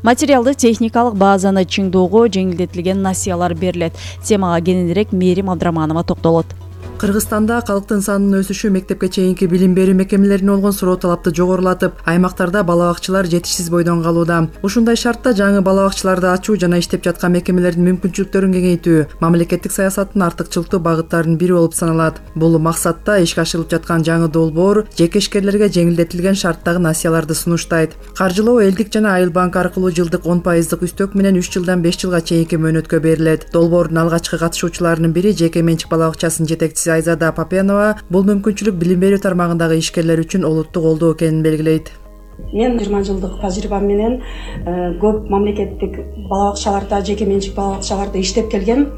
материалдык техникалык базаны чыңдоого жеңилдетилген насиялар берилет. Темага кененирээк Мээрим Абдраманова токтолот. Кыргызстанда калктын санынын өсүшү мектепке чейинки билим берүү мекемелерине болгон суроо талапты жогорулатып, аймактарда бала бакчалар жетишсиз бойдон калууда. Ушундай шартта жаңы бала бакчаларды ачуу жана иштеп жаткан мекемелердин мүмкүнчүлүктөрүн кеңейтүү мамлекеттик саясаттын артыкчылыктуу багыттарынын бири болуп саналат. Бул максатта ишке ашырылып жаткан жаңы долбоор жеке ишкерлерге жеңилдетилген шарттагы насияларды сунуштайт. Каржылоо элдик жана Айыл банк аркылуу жылдык он пайыздык үстөк менен үч жылдан беш жылга чейинки мөөнөткө берилет. Долбоордун алгачкы катышуучуларынын бири жеке менчик бала бакчасынын жетекчиси Айзада Папенова бул мүмкүнчүлүк билим берүү тармагындагы ишкерлер үчүн олуттук колдоо экенин белгилейт. Мен жыйырма жылдык тажрыйбам менен көп мамлекеттик бала бакчаларда, жеке менчик бала бакчаларда иштеп келгем.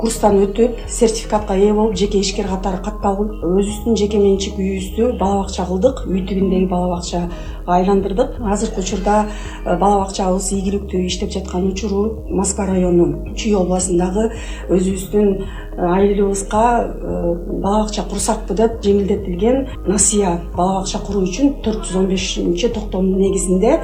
Курстан өтүп, сертификатка ээ болуп, жеке ишкер катары катталып, өзүбүздүн жеке менчик үйүбүздү бала бакча кылдык, үй тибиндеги бала бакчага айландырдык. Азыркы учурда бала бакчабыз ийгиликтүү иштеп жаткан учуру Москва району Чүй областындагы өзүбүздүн айылыбызга бала бакча курсакпы деп жеңилдетилген насия бала бакча куруу үчүн төрт жүз он бешинчи токтомдун негизинде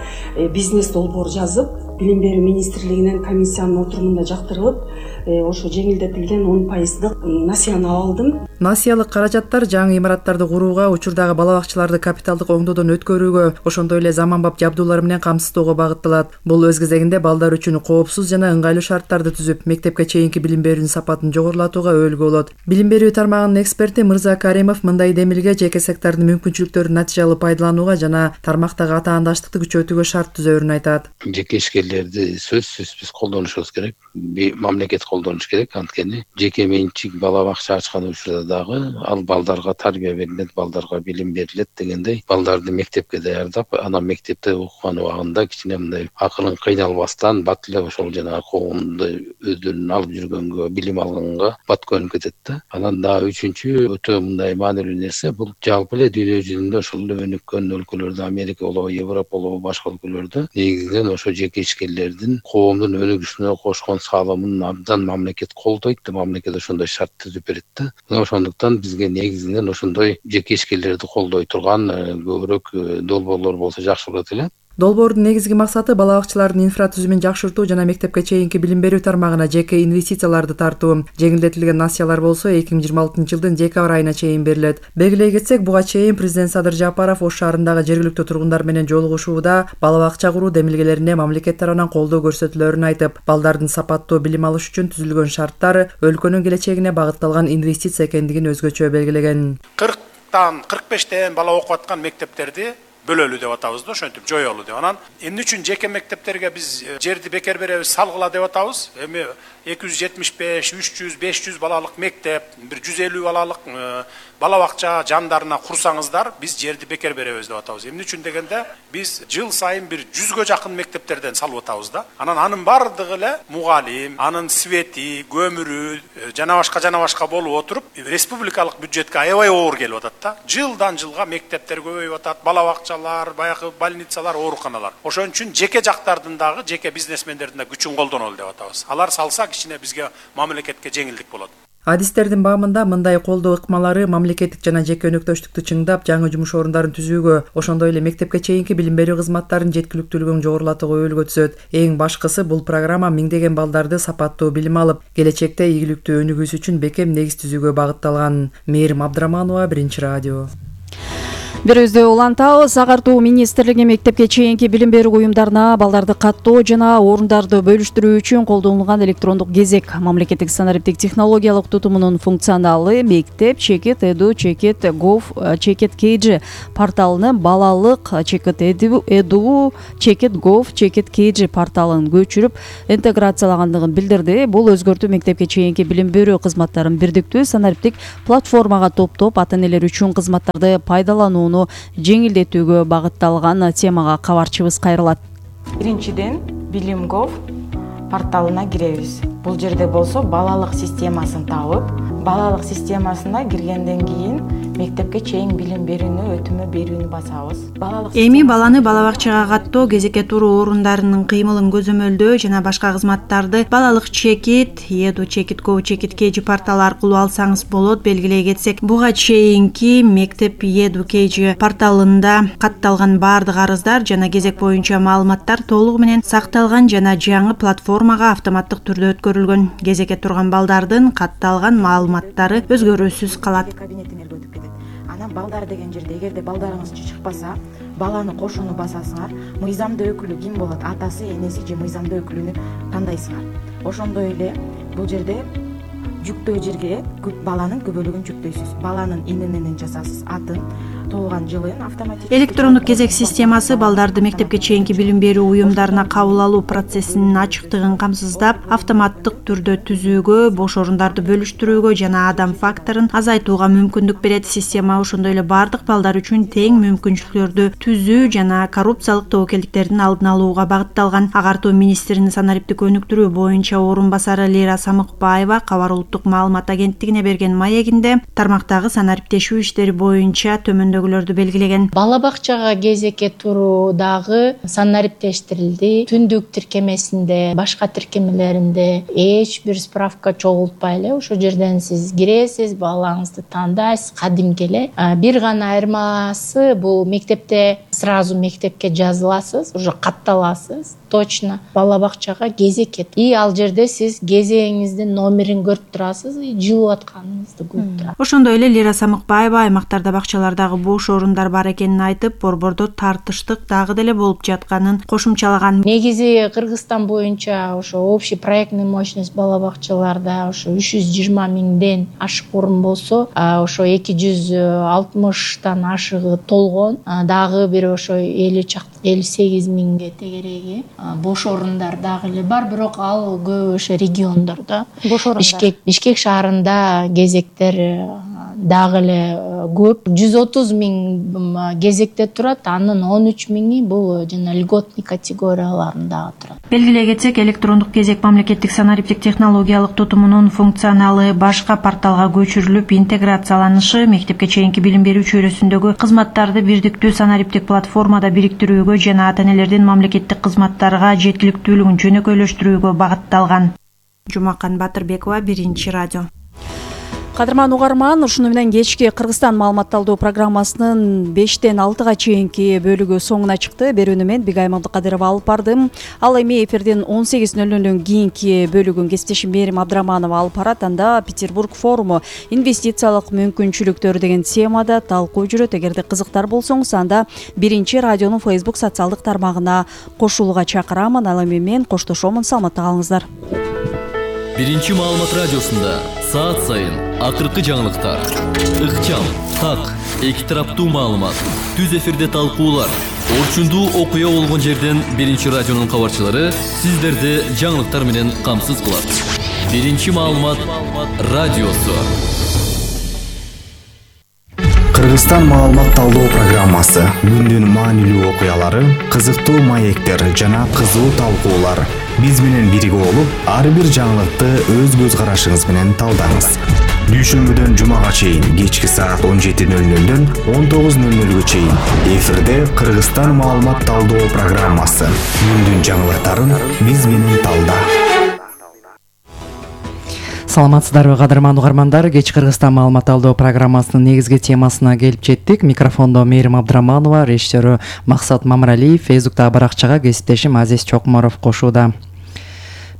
бизнес долбоор жазып, билим берүү министрлигинен комиссиянын отурумунда жактырылып, ошо жеңилдетилген он пайыздык насияны алдым. Насиялык каражаттар жаңы имараттарды курууга, учурдагы бала бакчаларды капиталдык оңдоодон өткөрүүгө, ошондой эле заманбап жабдуулар менен камсыздоого багытталат. Бул өз кезегинде балдар үчүн коопсуз жана ыңгайлуу шарттарды түзүп, мектепке чейинки билим берүүнүн сапатын жогорулатууга өөлгү болот. Билим берүү тармагынын эксперти Мырза Каримов мындай демилге жеке сектордун мүмкүнчүлүктөрүн натыйжалуу пайдаланууга жана тармактагы атаандаштыкты күчөтүүгө шарт түзөөрүн айтат. Жеке ишкерлерди сөзсүз биз колдонушубуз керек. Мамлекет колдонуш керек. Анткени жеке менчик бала бакча ачкан учурда дагы ал балдарга тарбия берилет, балдарга билим берилет дегендей, балдарды мектепке даярдап, анан мектепте окуган убагында кичине мындай акылын кыйналбастан бат эле ошол жанагы коомду өздөрүнүн алып жүргөнгө, билим алганга бат көнүп кетет да. Анан дагы үчүнчү өтө мындай маанилүү нерсе, бул жалпы эле дүйнө жүзүндө ошол эле өнүккөн өлкөлөрдө, Америка болобу, Европа болобу, башка өлкөлөрдө негизинен ошо жеке ишкерлердин коомдун өнүгүшүнө кошкон салымын абдан мамлекет колдойт да, мамлекет ошондой шарт түзүп берет да. Мына ошондуктан бизге негизинен ошондой жеке ишкерлерди колдой турган көбүрөөк долбоорлор болсо жакшы болот эле. Долбоордун негизги максаты бала бакчалардын инфратүзүмүн жакшыртуу жана мектепке чейинки билим берүү тармагына жеке инвестицияларды тартуу. Жеңилдетилген насиялар болсо эки миң жыйырма алтынчы жылдын декабрь айына чейин берилет. Белгилей кетсек, буга чейин президент Садыр Жапаров Ош шаарындагы жергиликтүү тургундар менен жолугушууда бала бакча куруу демилгелерине мамлекет тарабынан колдоо көрсөтүлөрүн айтып, балдардын сапаттуу билим алыш үчүн түзүлгөн шарттар өлкөнүн келечегине багытталган инвестиция экендигин өзгөчө белгилеген. кырктан кырк бештен бала окуп аткан мектептерди бөлөлүү деп атабыз да, ошентип жоёлуу деп. Анан эмне үчүн жеке мектептерге биз жерди бекер беребиз, салгыла деп атабыз? Эми эки жүз жетимиш беш, үч жүз, беш жүз балалык мектеп, бир жүз элүү балалык бала бакча жандарына курсаңыздар, биз жерди бекер беребиз деп атабыз. Эмне үчүн дегенде, биз жыл сайын бир жүзгө жакын мектептерден салып атабыз да. Анан анын бардыгы эле мугалим, анын свети, көмүрү жана башка жана башка болуп отуруп, республикалык бюджетке аябай оор келип атат да. Жылдан жылга мектептер көбөйүп атат, бала бакчалар, баягы больницалар, ооруканалар. Ошон үчүн жеке жактардын дагы, жеке бизнесмендердин да күчүн колдонолу деп атабыз. Алар салса кичине бизге мамлекетке жеңилдик болот. Адистердин баамында мындай колдоо ыкмалары мамлекеттик жана жеке өнөктөштүктү чыңдап, жаңы жумуш орундарын түзүүгө, ошондой эле мектепке чейинки билим берүү кызматтарынын жеткиликтүүлүгүн жогорулатууга өбөлгө түзөт. Эң башкысы бул программа миңдеген балдарды сапаттуу билим алып, келечекте ийгиликтүү өнүгүүсү үчүн бекем негиз түзүүгө багытталган. Мээрим Абдыраманова, Биринчи радио. Бирөөздө улантабыз. Агартуу министрлиги мектепке чейинки билим берүү уюмдарына балдарды каттоо жана орундарды бөлүштүрүү үчүн колдонулган электрондук кезек мамлекеттик санариптик технологиялык тутумунун функционалы мектеп чекит эду чекит гов чекит kg порталыны балалык чекит эду чекит гов чекит kg порталын көчүрүп интеграциялагандыгын билдирди. Бул өзгөртүү мектепке чейинки билим берүү кызматтарын бирдиктүү санариптик платформага топтоп ата энелер үчүн кызматтарды пайдалануу жеңилдетүүгө багытталган темага кабарчыбыз кайрылат. Биринчиден билим гов порталына киребиз. Бул жерде болсо балалык системасын табып, балалык системасына киргенден кийин мектепке чейин билим берүүнү өтүмө берүүнү басабыз. Балалык эми баланы бала бакчага каттоо, кезекке туруу орундарынын кыймылын көзөмөлдөө жана башка кызматтарды балалык чекит, эду чекит гов чекит kg порталы аркылуу алсаңыз болот. Белгилей кетсек, буга чейинки мектеп эду kg порталында катталган баардык арыздар жана кезек боюнча маалыматтар толугу менен сакталган жана жаңы платформага автоматтык түрдө өткөрүлгөн. Кезекке турган балдардын катталган маалыматтары өзгөрүүсүз калат. Анан балдар деген жерде эгерде балдарыңыз чыкпаса, баланы кошууну басасыңар, мыйзамдуу өкүлү ким болот? Атасы, энеси же мыйзамдуу өкүлүнү тандайсыңар. Ошондой эле бул жерде жүктөө жерге баланын күбөлүгүн жүктөйсүз. Баланын ини менен жазасыз, атын, туулган жылын автоматик. Электрондук кезек системасы балдарды мектепке чейинки билим берүү уюмдарына кабыл алуу процессинин ачыктыгын камсыздап, автоматтык түрдө түзүүгө, бош орундарды бөлүштүрүүгө жана адам факторун азайтууга мүмкүндүк берет. Система ошондой эле баардык балдар үчүн тең мүмкүнчүлүктөрдү түзүү жана коррупциялык тобокелдиктердин алдын алууга багытталган. Агартуу министринин санариптик өнүктүрүү боюнча орун басары Лейра Самыкбаева Кабар улуттук маалымат агенттигине берген маегинде тармактагы санариптешүү иштери боюнча төмөндөгүлөрдү белгилеген. Бала бакчага кезекке туруу дагы санариптештирилди. Түндүк тиркемесинде, башка тиркемелеринде эч бир справка чогултпай эле ошол жерден сиз киресиз, балаңызды тандайсыз, кадимки эле. Бир гана айырмасы бул мектепте сразу мектепке жазыласыз, уже катталасыз. Точно бала бакчага кезекке. И ал жерде сиз кезегиңиздин номерин көрүп турасыз, жылып атканыңызды көрүп турасыз. Ошондой эле Лейра Самыкбаева аймактарда бакчалардагы бош орундар бар экенин айтып, борбордо тартыштык дагы деле болуп жатканын кошумчалаган. Негизи Кыргызстан боюнча ошо общий проектный мощность бала бакчаларда ошо үч жүз жыйырма миңден ашык орун болсо, ошо эки жүз алтымыштан ашыгы толгон, дагы бир ошо элүү элүү сегиз миңге тегереги бош орундар дагы эле бар, бирок ал көп ошо региондордо. Бишкек Бишкек шаарында кезектер дагы эле көп. жүз отуз миң кезекте турат, анын он үч миңи бул жана льготный категорияларында турат. Белгилей кетсек, электрондук кезек мамлекеттик санариптик технологиялык тутумунун функционалы башка порталга көчүрүлүп, интеграцияланышы мектепке чейинки билим берүү чөйрөсүндөгү кызматтарды бирдиктүү санариптик платформада бириктирүүгө жана ата энелердин мамлекеттик кызматтарга жеткиликтүүлүгүн жөнөкөйлөштүрүүгө багытталган. Жумакан Батырбекова, Биринчи радио. Кадырман угарман, ушуну менен кечки Кыргызстан маалыматталдоо программасынын бештен алтыга чейинки бөлүгү соңуна чыкты. Берүүнү мен Бигайым Абдыкадырова алып бардым. Ал эми эфирдин он сегиз нөл нөлдөн кийинки бөлүгүн кесиптешим Мээрим Абдыраманова алып барат. Анда Петербург форуму инвестициялык мүмкүнчүлүктөр деген темада талкуу жүрөт. Эгерде кызыктар болсоңуз, анда Биринчи радионун Facebook социалдык тармагына кошулууга чакырамын. Ал эми мен коштошомун. Саламатта калыңыздар. Биринчи маалымат радиосунда саат сайын акыркы жаңылыктар, ыкчам, так, эки тараптуу маалымат, түз эфирде талкуулар, орчундуу окуя болгон жерден Биринчи радионун кабарчылары сиздерди жаңылыктар менен камсыз кылат. Биринчи маалымат радиосу. Кыргызстан маалымат талдоо программасы, күндүн маанилүү окуялары, кызыктуу маектер жана кызуу талкуулар. Биз менен бирге болуп, ар бир жаңылыкты өз көз карашыңыз менен талдаңыз. Дүйшөмбүдөн жумага чейин кечки саат он жети нөл нөлдөн он тогуз нөл нөлгө чейин эфирде Кыргызстан маалымат талдоо программасы. Күндүн жаңылыктарын биз менен талда. Саламатсыздарбы кадырман угармандар, кеч Кыргызстан маалымат талдоо программасынын негизги темасына келип жеттик. Микрофондо Мээрим Абдыраманова, режиссеру Максат Мамыралиев, Фейсбуктагы баракчага кесиптешим Азиз Чокморов кошууда.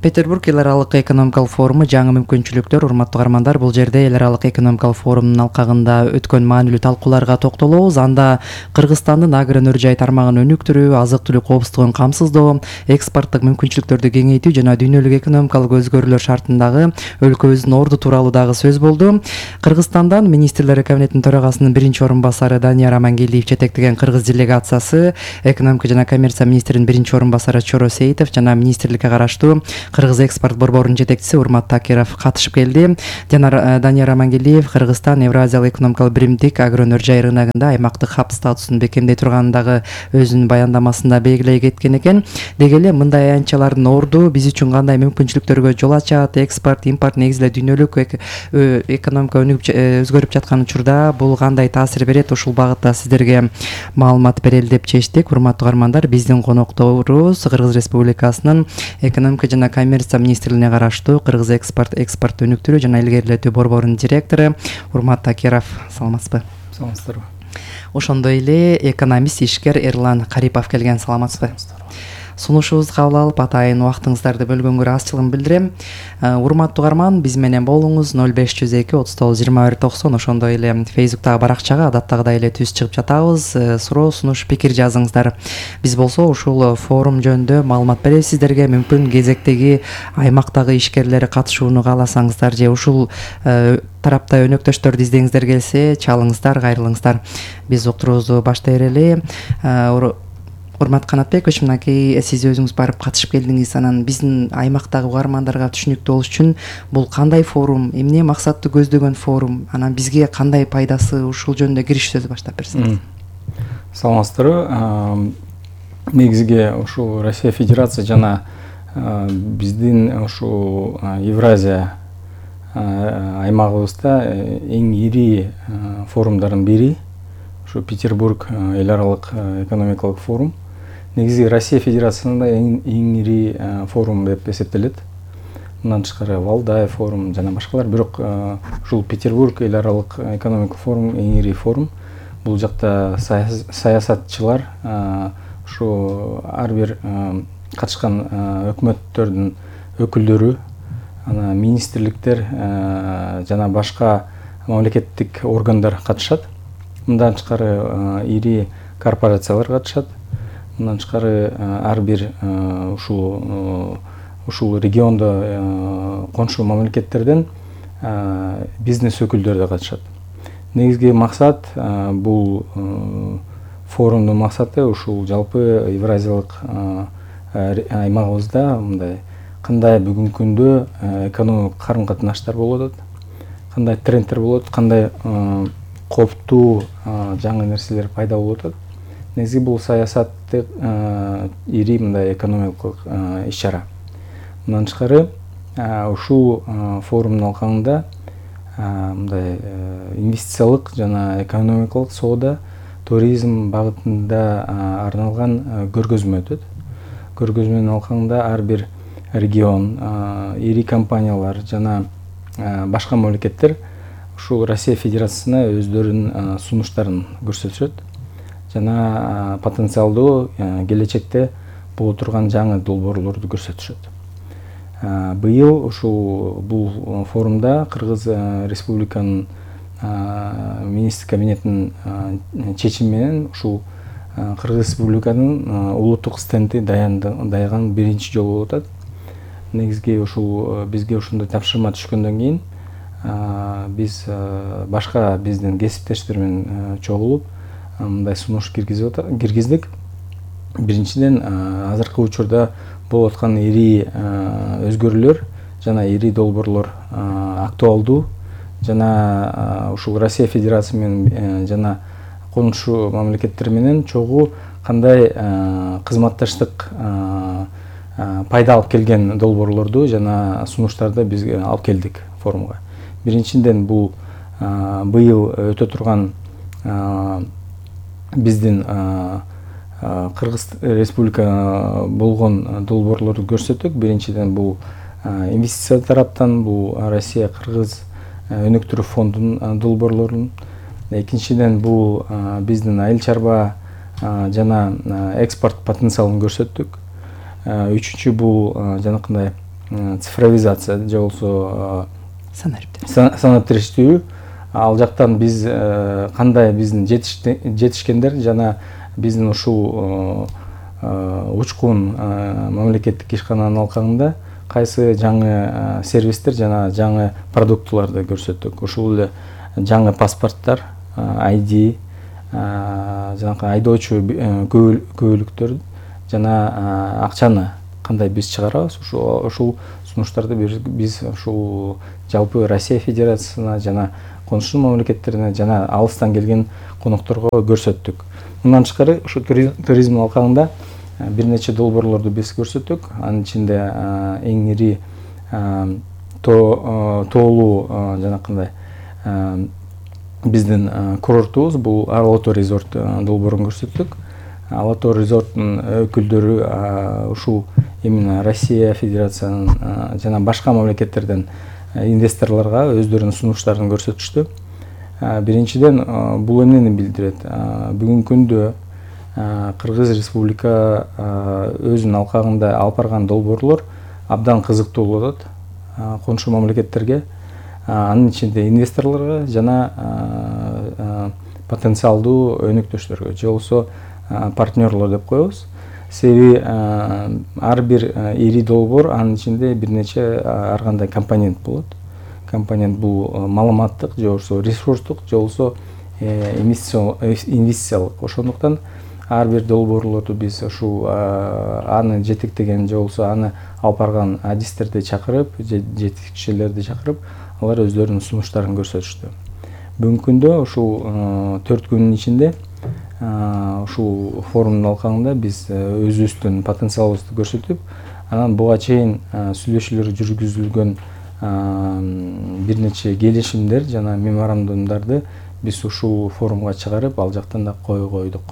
Петербург эл аралык экономикалык форуму жаңы мүмкүнчүлүктөр. Урматтуу угармандар, бул жерде эл аралык экономикалык форумдун алкагында өткөн маанилүү талкууларга токтолобуз. Анда Кыргызстандын агро өнөр жай тармагын өнүктүрүү, азык-түлүк коопсуздугун камсыздоо, экспорттук мүмкүнчүлүктөрдү кеңейтүү жана дүйнөлүк экономикалык өзгөрүүлөр шартындагы өлкөбүздүн орду тууралуу дагы сөз болду. Кыргызстандан министрлер кабинетинин төрагасынын биринчи орун басары Данияр Амангелдиев жетектеген кыргыз делегациясы экономика жана коммерция министринин биринчи орун басары Чоро Сейитов жана министрликке караштуу Кыргыз экспорт борборунун жетекчиси Урмат Такиров катышып келди. Данияр Амангелдиев Кыргызстан Евразиялык экономикалык биримдик агро өнөр жай рыногунда аймактык хаб статусун бекемдей турганын дагы өзүнүн баяндамасында белгилей кеткен экен. Деги эле мындай аянтчалардын орду биз үчүн кандай мүмкүнчүлүктөргө жол ачат, экспорт, импорт негизи эле дүйнөлүк экономика өзгөрүп жаткан учурда бул кандай таасир берет, ушул багытта сиздерге маалымат берели деп чечтик. Урматтуу угармандар, биздин конокторубуз Кыргыз Республикасынын экономика жана коммерция министрлигине караштуу Кыргыз экспорт экспорт өнүктүрүү жана илгерилетүү борборунун директору Урмат Такиров. Саламатсызбы? Саламатсыздарбы. Ошондой эле экономист ишкер Эрлан Карипов келген. Саламатсызбы? Сунушубузду кабыл алып, атайын убактыңыздарды бөлгөнгө ыраазычылыгымды билдирем. Урматтуу угарман, биз менен болуңуз ноль беш жүз эки отуз тогуз жыйырма бир токсон. Ошондой эле Фейсбуктагы баракчага адаттагыдай эле түз чыгып жатабыз. Суроо, сунуш, пикир жазыңыздар. Биз болсо ушул форум жөнүндө маалымат беребиз сиздерге. Мүмкүн кезектеги аймактагы ишкерлер катышууну кааласаңыздар же ушул тарапта өнөктөштөрдү издегиңиздер келсе, чалыңыздар, кайрылыңыздар. Биз уктуруубузду баштай берели. Урмат Канатбекович, мынакей сиз өзүңүз барып катышып келдиңиз. Анан биздин аймактагы угармандарга түшүнүктүү болуш үчүн бул кандай форум, эмне максатты көздөгөн форум, анан бизге кандай пайдасы, ушул жөнүндө кириш сөз баштап берсеңиз. Саламатсыздарбы. Негизги ушул Россия Федерация жана биздин ушул Евразия аймагыбызда эң ири форумдардын бири ушу Петербург эл аралык экономикалык форум. Негизи Россия Федерациясында эң ири форум деп эсептелет. Мындан тышкары Валдай форум жана башкалар, бирок ушул Петербург эл аралык экономикалык форум эң ири форум. Бул жакта саясатчылар, ушу ар бир катышкан өкмөттөрдүн өкүлдөрү, ана министрликтер жана башка мамлекеттик органдар катышат. Мындан тышкары ири корпорациялар катышат. Мындан тышкары ар бир ушул ушул региондо коншу мамлекеттерден бизнес өкүлдөрү да катышат. Негизги максат, бул форумдун максаты ушул жалпы Евразиялык аймагыбызда мындай кандай бүгүнкү күндө экономикалык карым-катнаштар болуп атат, кандай трендтер болот, кандай коптуу жаңы нерселер пайда болуп атат. Негизи бул саясаттык ири мындай экономикалык иш-чара. Мындан тышкары ушул форумдун алкагында мындай инвестициялык жана экономикалык соода, туризм багытында арналган көргөзмө өтөт. Көргөзмөнүн алкагында ар бир регион, ири компаниялар жана башка мамлекеттер ушул Россия Федерациясына өздөрүнүн сунуштарын көрсөтүшөт жана потенциалдуу келечекте боло турган жаңы долбоорлорду көрсөтүшөт. Быйыл ушул бул форумда Кыргыз Республиканын министр кабинетинин чечими менен ушул Кыргыз Республиканын улуттук стенди даяган биринчи жолу болуп атат. Негизги ушул бизге ушундай тапшырма түшкөндөн кийин биз башка биздин кесиптештер менен чогулуп мындай сунуш киргиздик. Биринчиден, азыркы учурда болуп аткан ири өзгөрүүлөр жана ири долбоорлор актуалдуу жана ушул Россия Федерациясы менен жана конушу мамлекеттер менен чогуу кандай кызматташтык пайда алып келген долбоорлорду жана сунуштарды биз алып келдик форумга. Биринчиден бул быйыл өтө турган биздин Кыргыз Республика болгон долбоорлорду көрсөттүк. Биринчиден бул инвестиция тараптан бул Россия Кыргыз өнүктүрүү фондунун долбоорлорун. Экинчиден бул биздин айыл чарба жана экспорт потенциалын көрсөттүк. Үчүнчү бул жанакындай цифровизация же болбосо санаптириштирүү. Ал жактан биз кандай биздин жетишкендер жана биздин ушул учкун мамлекеттик ишкананын алкагында кайсы жаңы сервистер жана жаңы продуктуларды көрсөттүк. Ушул эле жаңы паспорттор, ай ди, жанакы айдоочу көбөлүктөр жана акчаны кандай биз чыгарабыз, ушул сунуштарды биз ушул жалпы Россия Федерациясына жана конушу мамлекеттерине жана алыстан келген конокторго көрсөттүк. Мындан тышкары ушу туризм алкагында бир нече долбоорлорду биз көрсөттүк. Анын ичинде эң ири тоолуу жанакындай биздин курортубуз бул Алатоо резорт долбоорун көрсөттүк. Алатоо резорттун өкүлдөрү ушул именно Россия Федерациясынын жана башка мамлекеттерден инвесторлорго өздөрүнүн сунуштарын көрсөтүштү. Биринчиден бул эмнени билдирет? Бүгүнкү күндө Кыргыз Республика өзүнүн алкагында алып барган долбоорлор абдан кызыктуу болуп атат конушу мамлекеттерге, анын ичинде инвесторлорго жана потенциалдуу өнөктөштөргө же болбосо партнерлор деп коебуз. Себеби ар бир ири долбоор анын ичинде бир нече ар кандай компонент болот. Компонент бул маалыматтык же болбосо ресурстук же болбосо инвестициялык. Ошондуктан ар бир долбоорлорду биз ушул аны жетектеген же болбосо аны алып барган адистерди чакырып, жетекчилерди чакырып, алар өздөрүнүн сунуштарын көрсөтүштү. Бүгүнкү күндө ушул төрт күнүн ичинде ушул форумдун алкагында биз өзүбүздүн потенциалыбызды көрсөтүп, анан буга чейин сүйлөшүүлөр жүргүзүлгөн бир нече келишимдер жана меморандумдарды биз ушул форумга чыгарып, ал жактан да кой койдук.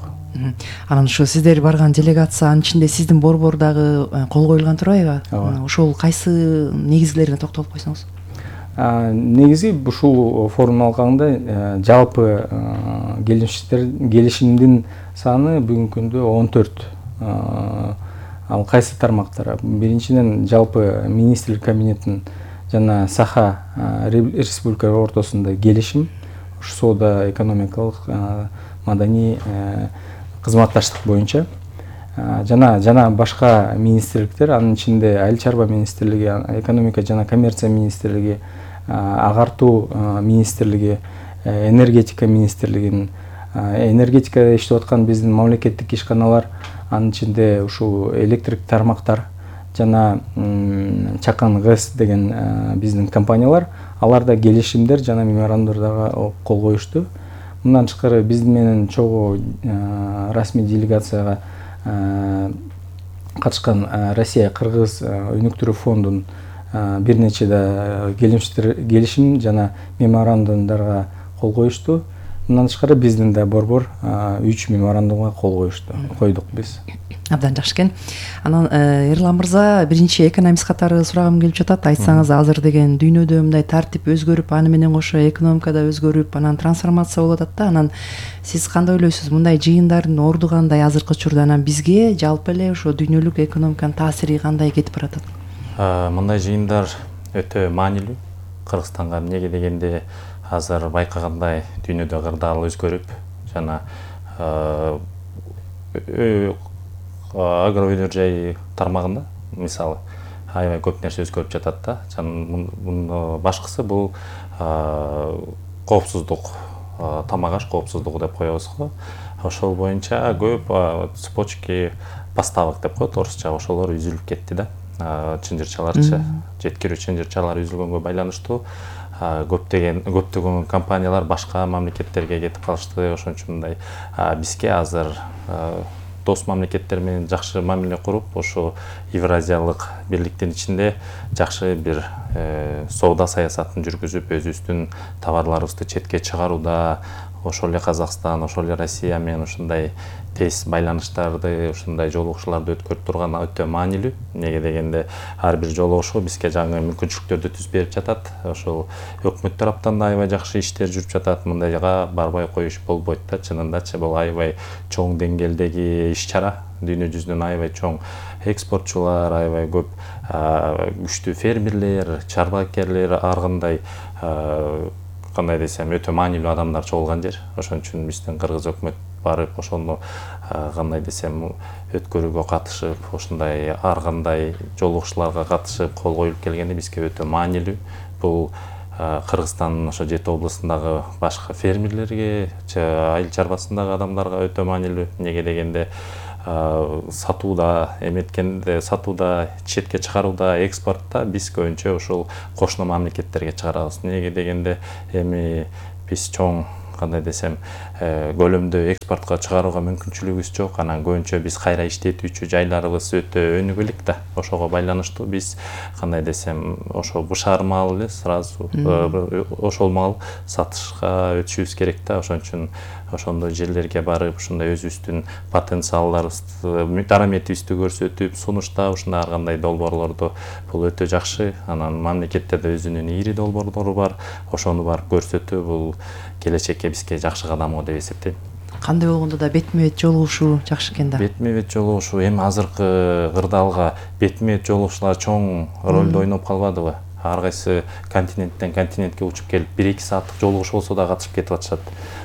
Анан ушу сиздер барган делегация анын ичинде сиздин борбор дагы кол коюлган турбайбы? Ошол кайсы негизгилерине токтолуп койсоңуз? Негизи ушул форумдун алкагында жалпы келишимдин саны бүгүнкү күндө он төрт. Ал кайсы тармактар? Биринчиден жалпы министрлик кабинетинин жана Саха республика ортосунда келишим, ушу соода экономикалык, маданий кызматташтык боюнча жана жана башка министрликтер, анын ичинде айыл чарба министрлиги, экономика жана коммерция министрлиги, агартуу министрлиги, энергетика министрлигинин, энергетикада иштеп аткан биздин мамлекеттик ишканалар, анын ичинде ушул электрик тармактар жана Чакан ГЭС деген биздин компаниялар, аларда келишимдер жана меморандумдарга кол коюшту. Мындан тышкары биз менен чогуу расмий делегацияга катышкан Россия Кыргыз өнүктүрүү фондунун бир нече да келишим жана меморандумдарга кол коюшту. Мындан тышкары биздин да борбор үч меморандумга кол коюшту, койдук биз. Абдан жакшы экен. Анан Эрлан мырза, биринчи экономист катары сурагым келип жатат. Айтсаңыз, азыр деген дүйнөдө мындай тартип өзгөрүп, аны менен кошо экономика да өзгөрүп, анан трансформация болуп атат да. Анан сиз кандай ойлойсуз? Мындай жыйындардын орду кандай азыркы учурда? Анан бизге жалпы эле ошо дүйнөлүк экономиканын таасири кандай кетип баратат? Мындай жыйындар өтө маанилүү Кыргызстанга. Эмнеге дегенде, азыр байкагандай дүйнөдө кырдаал өзгөрүп, жана агроөнөр тармагында мисалы аябай көп нерсе өзгөрүп жатат да. Жана башкысы бул коопсуздук, тамак аш коопсуздугу деп коебуз го. Ошол боюнча көп цепочки поставок деп коет орусча, ошолор үзүлүп кетти да. Чынжырчаларчы, жеткирүү чынжырчалар үзүлгөнгө байланыштуу көптөгөн көптөгөн компаниялар башка мамлекеттерге кетип калышты. Ошон үчүн мындай бизге азыр дос мамлекеттер менен жакшы мамиле куруп, ошо Евразиялык бирликтин ичинде жакшы бир соода саясатын жүргүзүп, өзүбүздүн товарларыбызды четке чыгарууда, ошол эле Казакстан, ошол эле Россия менен ушундай тез байланыштарды, ушундай жолугушууларды өткөрүп турган өтө маанилүү. Неге дегенде ар бир жолугушуу бизге жаңы мүмкүнчүлүктөрдү түзүп берип жатат. Ошол өкмөт тараптан да аябай жакшы иштер жүрүп жатат. Мындайга барбай коюш болбойт да. Чынындачы бул аябай чоң деңгээлдеги иш-чара. Дүйнө жүзүнөн аябай чоң экспортчулар, аябай көп күчтүү фермерлер, чарбакерлер, ар кандай кандай десем өтө маанилүү адамдар чогулган жер. Ошон үчүн биздин кыргыз өкмөт барып ошону кандай десем өткөрүүгө катышып, ошондой ар кандай жолугушууларга катышып кол коюлуп келгени бизге өтө маанилүү. Бул Кыргызстандын ошо жети областындагы башка фермерлерге, айыл чарбасындагы адамдарга өтө маанилүү. Неге дегенде сатууда, эметкенде сатууда, четке чыгарууда, экспортто биз көбүнчө ошол кошуна мамлекеттерге чыгарабыз. Неге дегенде эми биз чоң кандай десем көлөмдө экспортко чыгарууга мүмкүнчүлүгүбүз жок. Анан көбүнчө биз кайра иштетүүчү жайларыбыз өтө өнүгүлүк да. Ошого байланыштуу биз кандай десем ошо бушар мал эле сразу ошол мал сатышка өтүшүбүз керек да. Ошон үчүн ошондой жерлерге барып, ушундай өзүбүздүн потенциалдарыбызды, дараметибизди көрсөтүп, сунуштап, ушундай ар кандай долбоорлорду бул өтө жакшы. Анан мамлекеттерде өзүнүн ири долбоорлору бар. Ошону барып көрсөтүү бул келечекке бизге жакшы кадам го деп эсептейм. Кандай болгондо да бетме бет жолугушуу жакшы экен да. Бетме бет жолугушуу эми азыркы кырдаалга бетме бет жолугушуулар чоң ролду ойноп калбадыбы? Ар кайсы континенттен континентке учуп келип бир эки сааттык жолугуш болсо да катышып кетип атышат.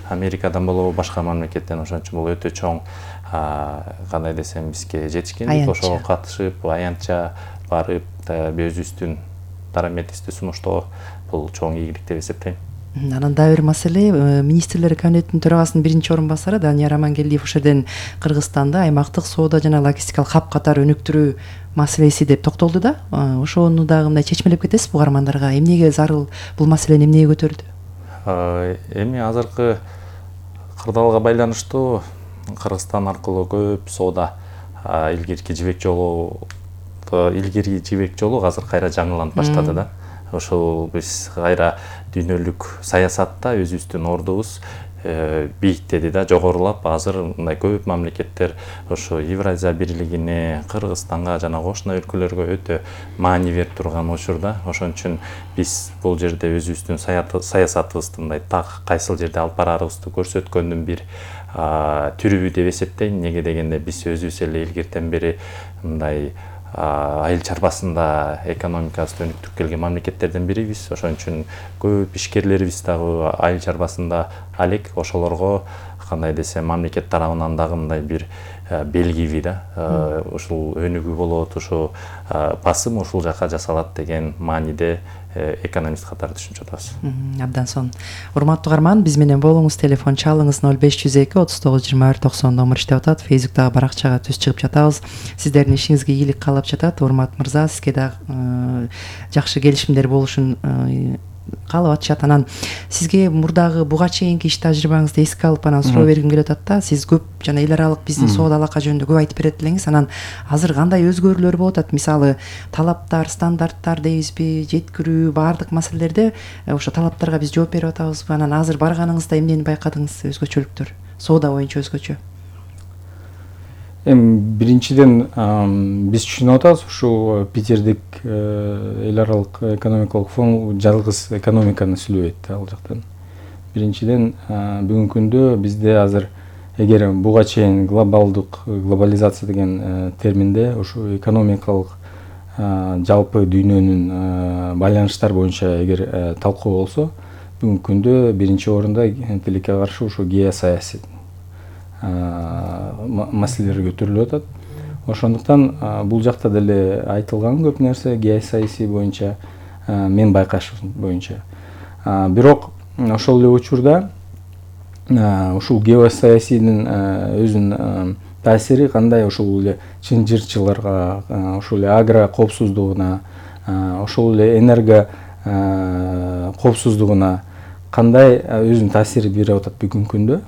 Америкадан болобу, башка мамлекеттен. Ошон үчүн бул өтө чоң кандай десем бизге жетишкендик. Ошого катышып, аянтча барып, өзүбүздүн дараметибизди сунуштоо бул чоң ийгилик деп эсептейм. Анан дагы бир маселе, министрлер кабинетинин төрагасынын биринчи орун басары Данияр Амангелдиев ошол жерден Кыргызстанды аймактык соода жана логистикалык хаб катары өнүктүрүү маселеси деп токтолду да. Ошону дагы мындай чечмелеп кетесизби угармандарга? Эмнеге зарыл бул маселени эмнеге көтөрдү? Эми азыркы кырдаалга байланыштуу Кыргызстан аркылуу көп соода илгирки жибек жолу илгирки жибек жолу азыр кайра жаңыланып баштады да. Ошол биз кайра дүйнөлүк саясатта өзүбүздүн ордубуз бийиктеди да, жогорулап. Азыр мындай көп мамлекеттер ошо Евразия бирлигине, Кыргызстанга жана кошуна өлкөлөргө өтө маани берип турган учурда. Ошон үчүн биз бул жерде өзүбүздүн саясатыбызды мындай так кайсыл жерде алып барарыбызды көрсөткөндүн бир түрүбү деп эсептейм. Неге дегенде биз өзүбүз эле илгертен бери мындай айыл чарбасында экономикабызды өнүктүрүп келген мамлекеттерден бирибиз. Ошон үчүн көп ишкерлерибиз дагы айыл чарбасында алек. Ошолорго кандай десем мамлекет тарабынан дагы мындай бир белгиби да, ушул өнүгүү болот, ушул басым ушул жака жасалат деген мааниде экономист катары түшүнүп жатабыз. Абдан сонун. Урматтуу угарман, биз менен болуңуз, телефон чалыңыз ноль беш жүз эки отуз тогуз жыйырма бир токсон номер иштеп атат. Фейсбуктагы баракчага түз чыгып жатабыз. Сиздердин ишиңизге ийгилик каалап жатат. Урмат мырза, сизге дагы жакшы келишимдер болушун каалап атышат. Анан сизге мурдагы буга чейинки иш тажрыйбаңызды эске алып анан суроо бергим келип атат да. Сиз көп жана эл аралык биздин соода алака жөнүндө көп айтып берет элеңиз. Анан азыр кандай өзгөрүүлөр болуп атат? Мисалы, талаптар, стандарттар дейбизби, жеткирүү, баардык маселелерде ошо талаптарга биз жооп берип атабызбы? Анан азыр барганыңызда эмнени байкадыңыз? Өзгөчөлүктөр соода боюнча өзгөчө. Эми биринчиден биз түшүнүп атабыз, ушул Питердик эл аралык экономикалык форум жалгыз экономиканы сүйлөбөйт ал жактан. Биринчиден бүгүнкү күндө бизде азыр эгер буга чейин глобалдык глобализация деген терминде ушу экономикалык жалпы дүйнөнүн байланыштар боюнча эгер талкуу болсо, бүгүнкү күндө биринчи орунда тилекке каршы ушу геосаясий маселелер көтөрүлүп атат. Ошондуктан бул жакта деле айтылган көп нерсе геосаясий боюнча, мен байкашым боюнча. Бирок ошол эле учурда ушул геосаясийдин өзүнүн таасири кандай ушул эле чынжырчыларга, ушул эле агро коопсуздугуна, ошол эле энерго коопсуздугуна кандай өзүнүн таасирин берип атат бүгүнкү күндө,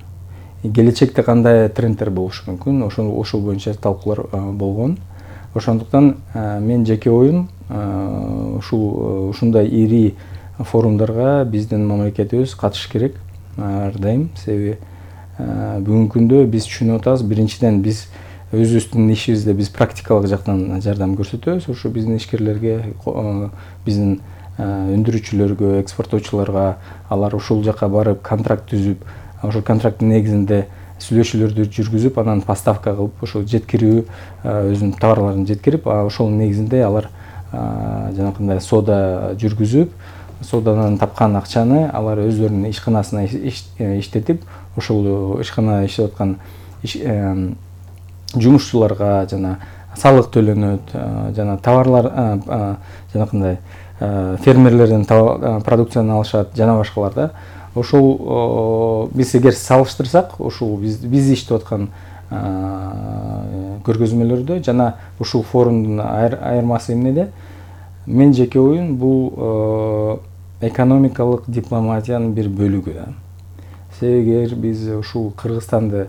келечекте кандай трендтер болушу мүмкүн, ошол ошол боюнча талкуулар болгон. Ошондуктан мен жеке оюм ушул ушундай ири форумдарга биздин мамлекетибиз катышыш керек ар дайым. Себеби бүгүнкү күндө биз түшүнүп атабыз, биринчиден биз өзүбүздүн ишибизде биз практикалык жактан жардам көрсөтөбүз. Ошо биздин ишкерлерге, биздин өндүрүүчүлөргө, экспорттоочуларга, алар ушул жака барып контракт түзүп, ошол контракттын негизинде сүйлөшүүлөрдү жүргүзүп, анан поставка кылып, ошол жеткирүү, өзүнүн товарларын жеткирип, ошол негизинде алар жанакындай соода жүргүзүп, соодадан тапкан акчаны алар өздөрүнүн ишканасына иштетип, ошол ишканада иштеп аткан жумушчуларга жана салык төлөнөт, жана товарлар жанакындай фермерлерден продукцияны алышат, жана башкалар да. Ошол биз эгер салыштырсак, ушул биз биз иштеп аткан көргөзмөлөрдө жана ушул форумдун айырмасы эмнеде? Мен жеке оюм бул экономикалык дипломатиянын бир бөлүгү да. Себеби эгер биз ушул Кыргызстанды